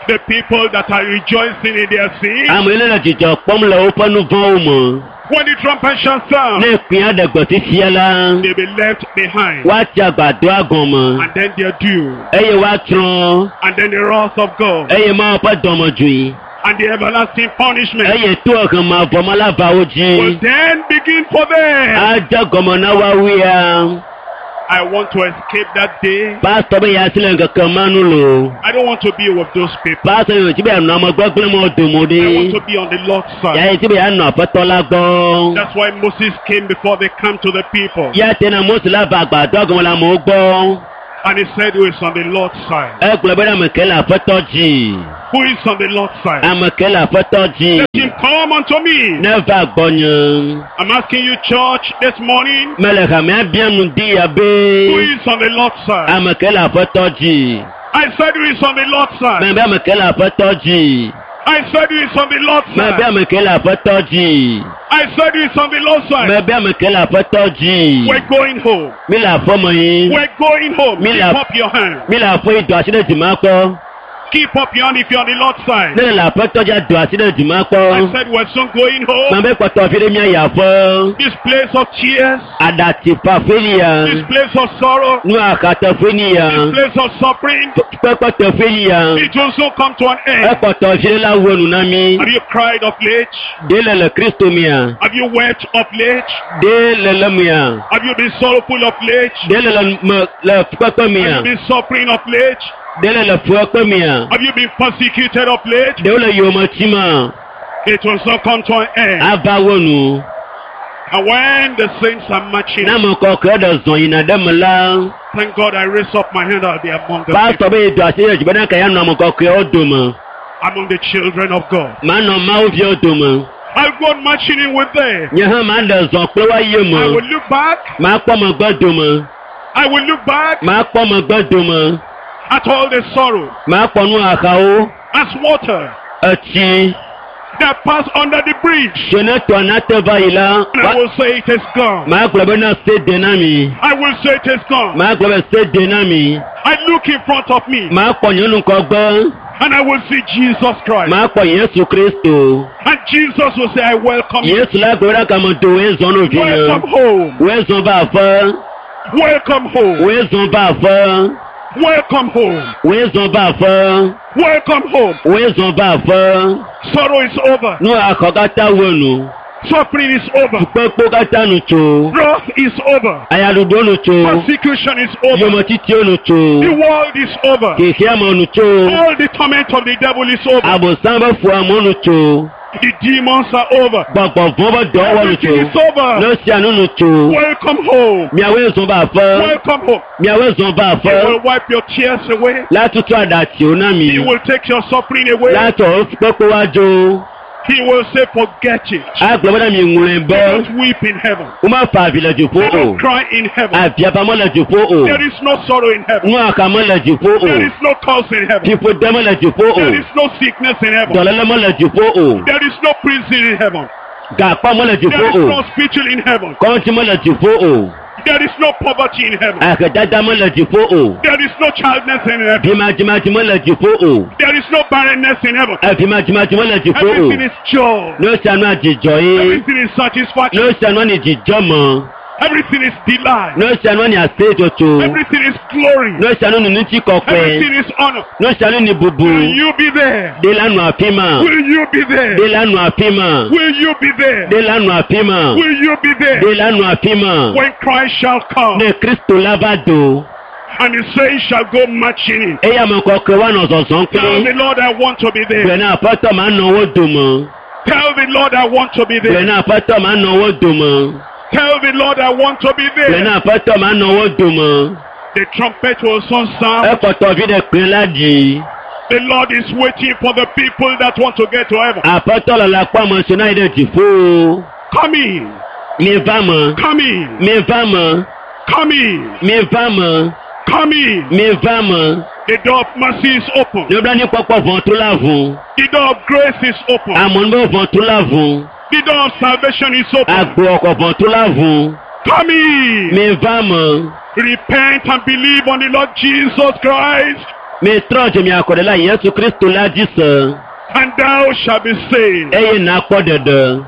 the people that are rejoicing in their sin. Ame yiwo le dzidzɔ kpɔm le woƒe nu vɔ̃wo me. When the trumpet shall sound, Ne kpẽa ɖe gbe fifia la, they'll be left behind, woatsi agbadɔa gɔme and then their due, eye woatsrɔ̃ and then the wrath of God, eye Mawu ƒe dɔmedzoe and the everlasting punishment eye to ehemavɔme la va wo will dzi. then begin for them. Adze gɔme na woawoea. I want to escape that day. Pastɔ be yeasi le ŋkeke ma nu loo. I don't want to be with those people. Pastɔ yi wòdzi be yeanɔ ame gbegblẽ mawo dome I want ɖe. to be on the Lord's side. Ya yedi be yeanɔ Aƒetɔ la gbɔ. That's why Moses came before they come to the people. Ya te na Mose la va agbadɔa gɔme le amewo gbɔ. And he said, Who is on the Lord's side? Egblɔ bena ame ke le Aƒetɔ dzi. Who is on the Lord's side? Ame ke le Aƒetɔ dzi. Let him come unto me. Ne va gbɔnye. I'm asking you, church, this morning, Mele hamea biam nu di ya who be is on the Lord's side? ame ke le Aƒetɔ dzi. I said, Who is on the Lord's side? Mebe ame ke le Aƒetɔ dzi. I said, Who is on the Lord's Mebe side? ame ke le Aƒetɔ dzi. I said, Who is on the Lord's side? Mebe ame ke le Aƒetɔ dzi. We're going home. Mi le aƒeme yi. We're going home. Me Keep la- up your hand. Mi le aƒe yi do asi ɖe dzime kpɔ. Keep up your hand if you're on the Lord's side. Ne le Aƒetɔ dzi do asi ɖe dzime I kpɔ. said, We're soon going home. Mebe kpɔtɔ fi ɖe mía yi aƒe. This place of tears, Aɖatsi fa ƒe lia. this place of sorrow, Nu akateƒe lia. this place of suffering, Kpekpeteƒe lia. it will soon come to an end. Ekpɔtɔ fi ɖe la wu enu na mi. Have you cried of late? Ɖe le le Kristo mia. Have you wept of late? Ɖe le le mia. Have you been sorrowful of late? Ɖe le le me le fukpekpe Have mia. you been suffering of late? Ɖe le le fukpekpe mia. Have you been persecuted of late? Ɖewo le yome tima. It will soon come to an end. Ava wo nu. And when the saints are marching, Ne ame kɔkɔe ɖe zɔ yina ɖe me la, thank God I raise up my hand, I'll be among the pastɔ people, be yi do asi ɖe dzi bena ka ya nɔ ame kɔkɔewo dome. among the children of God. Manɔ Mawu viwo dome. I'll go on marching in with them. Nye hã maɖe zɔ kple woayi I me. will look back. Makpɔ megbe dome. I will look back Makpɔ megbe dome. at all the sorrow Makpɔ nu xaxawo. as water Etsi that passed under the bridge. si ne tɔ nate va yi la, And I will say it is gone. magblɔ bena se de na mi. I will say it is gone. Magblɔ be se de na mi. I look in front of me Makpɔ nye nukɔgbe. and I will see Jesus Christ. Makpɔ Yesu Kristo. And Jesus will say, I welcome you. Yesu la gblɔ ɖe kame do woe zɔ no vi Welcome nye. home. Woe zɔ va aƒe. Welcome home. Woe zɔ va aƒe. Welcome home. Woe zɔ va aƒe. Welcome home. Woe zɔ va aƒe. Sorrow is over. Nu axɔ katã wo nu. Suffering is over. Kpekpewo katã nu tso. Wrath is over. Ayaɖuɖuwo nu tso. Persecution is over. Yometitiwo nu tso. The world is over. Xexeame nu tso. All the torment of the devil is over. Abosam be fuamewo nu tso. The demons are over. Gbɔgbɔ vɔ̃ be dɔwɔwɔ nu tso. Everything is over. Nu sia nu nu tso. Welcome home. Miawoe zɔ va aƒe. Welcome home. Miawoe zɔ va He aƒe. will wipe your tears away. La tutu aɖatsiwo na mi. He will take your suffering away. La tɔ kpekpewo adzo. He will say, forget it. Agblɔ bena mi ŋlɔe They be don't weep in heaven. womefa avi le dziƒo They o. don't cry in heaven. Aviava mele dziƒo o. There is no sorrow in heaven. Nuaka mele dziƒo There o. is no curse in heaven. Fiƒode mele dziƒo o. There is no sickness in heaven. Dɔléle mele dziƒo o. There is no prison in heaven. Gakpɔ mele There dziƒo is no o. hospital in heaven. Kɔŋtsi mele dziƒo o. There is no poverty in heaven. Ahedada mele dziƒo o. There is no childness in heaven. Vimadzimadzi mele dziƒo o. There is no barrenness in heaven. Evimadzimadzi mele dziƒo o. Everything is joy. Nu sia nua dzidzɔ ye. Everything is satisfaction. Nu sia nua ni dzidzɔ me. Everything is delight. Nu sia nu ni aseyetsotso. Everything is glory. Nu sia nu ni ŋuti kɔkɔe. Everything is honor. Nu sia nu ni bubu. Will you be there? Ɖe la nɔ afi ma. Will you be there? Ɖe la nɔ afi ma. Will you be there? Ɖe la nɔ afi ma. Will you be there? Ɖe la nɔ afi ma. When Christ shall come Ne Kristo la va do, and the saints shall go marching in. eye ame kɔkɔe woanɔ zɔzɔm Tell kple. the Lord I want to be Gblɔe there. na Aƒetɔ ma nɔ wo dome. Tell the Lord I want to be Gblɔe there. na Aƒetɔ ma nɔ wo dome. Tell the Lord I want to be Gblɔe there. na Aƒetɔ ma nɔ wo dome. The trumpet will soon sound. Ekpɔtɔ vi ɖe kpẽ la ɖi. The Lord is waiting for the people that want to get to heaven. Aƒetɔ le la kpɔ ame si na yi ɖe dziƒo. Come in. Mi va me. Come in. Mi va me. Come in. Mi va me. Come in. Mi va me. The door of mercy is open. Nublanuikpɔkpɔ ʋɔtru la ʋu. The door of grace is open. Amenuveve ʋɔtru la ʋu. The door of salvation is open. Agboxɔ ʋɔtru la ʋu. Come in. Mi va me. Repent and believe on the Lord Jesus Christ, Mi trɔ dze mia kɔ ɖe la Yesu Kristo la dzi se and thou shalt be saved. eye nakpɔ ɖeɖe.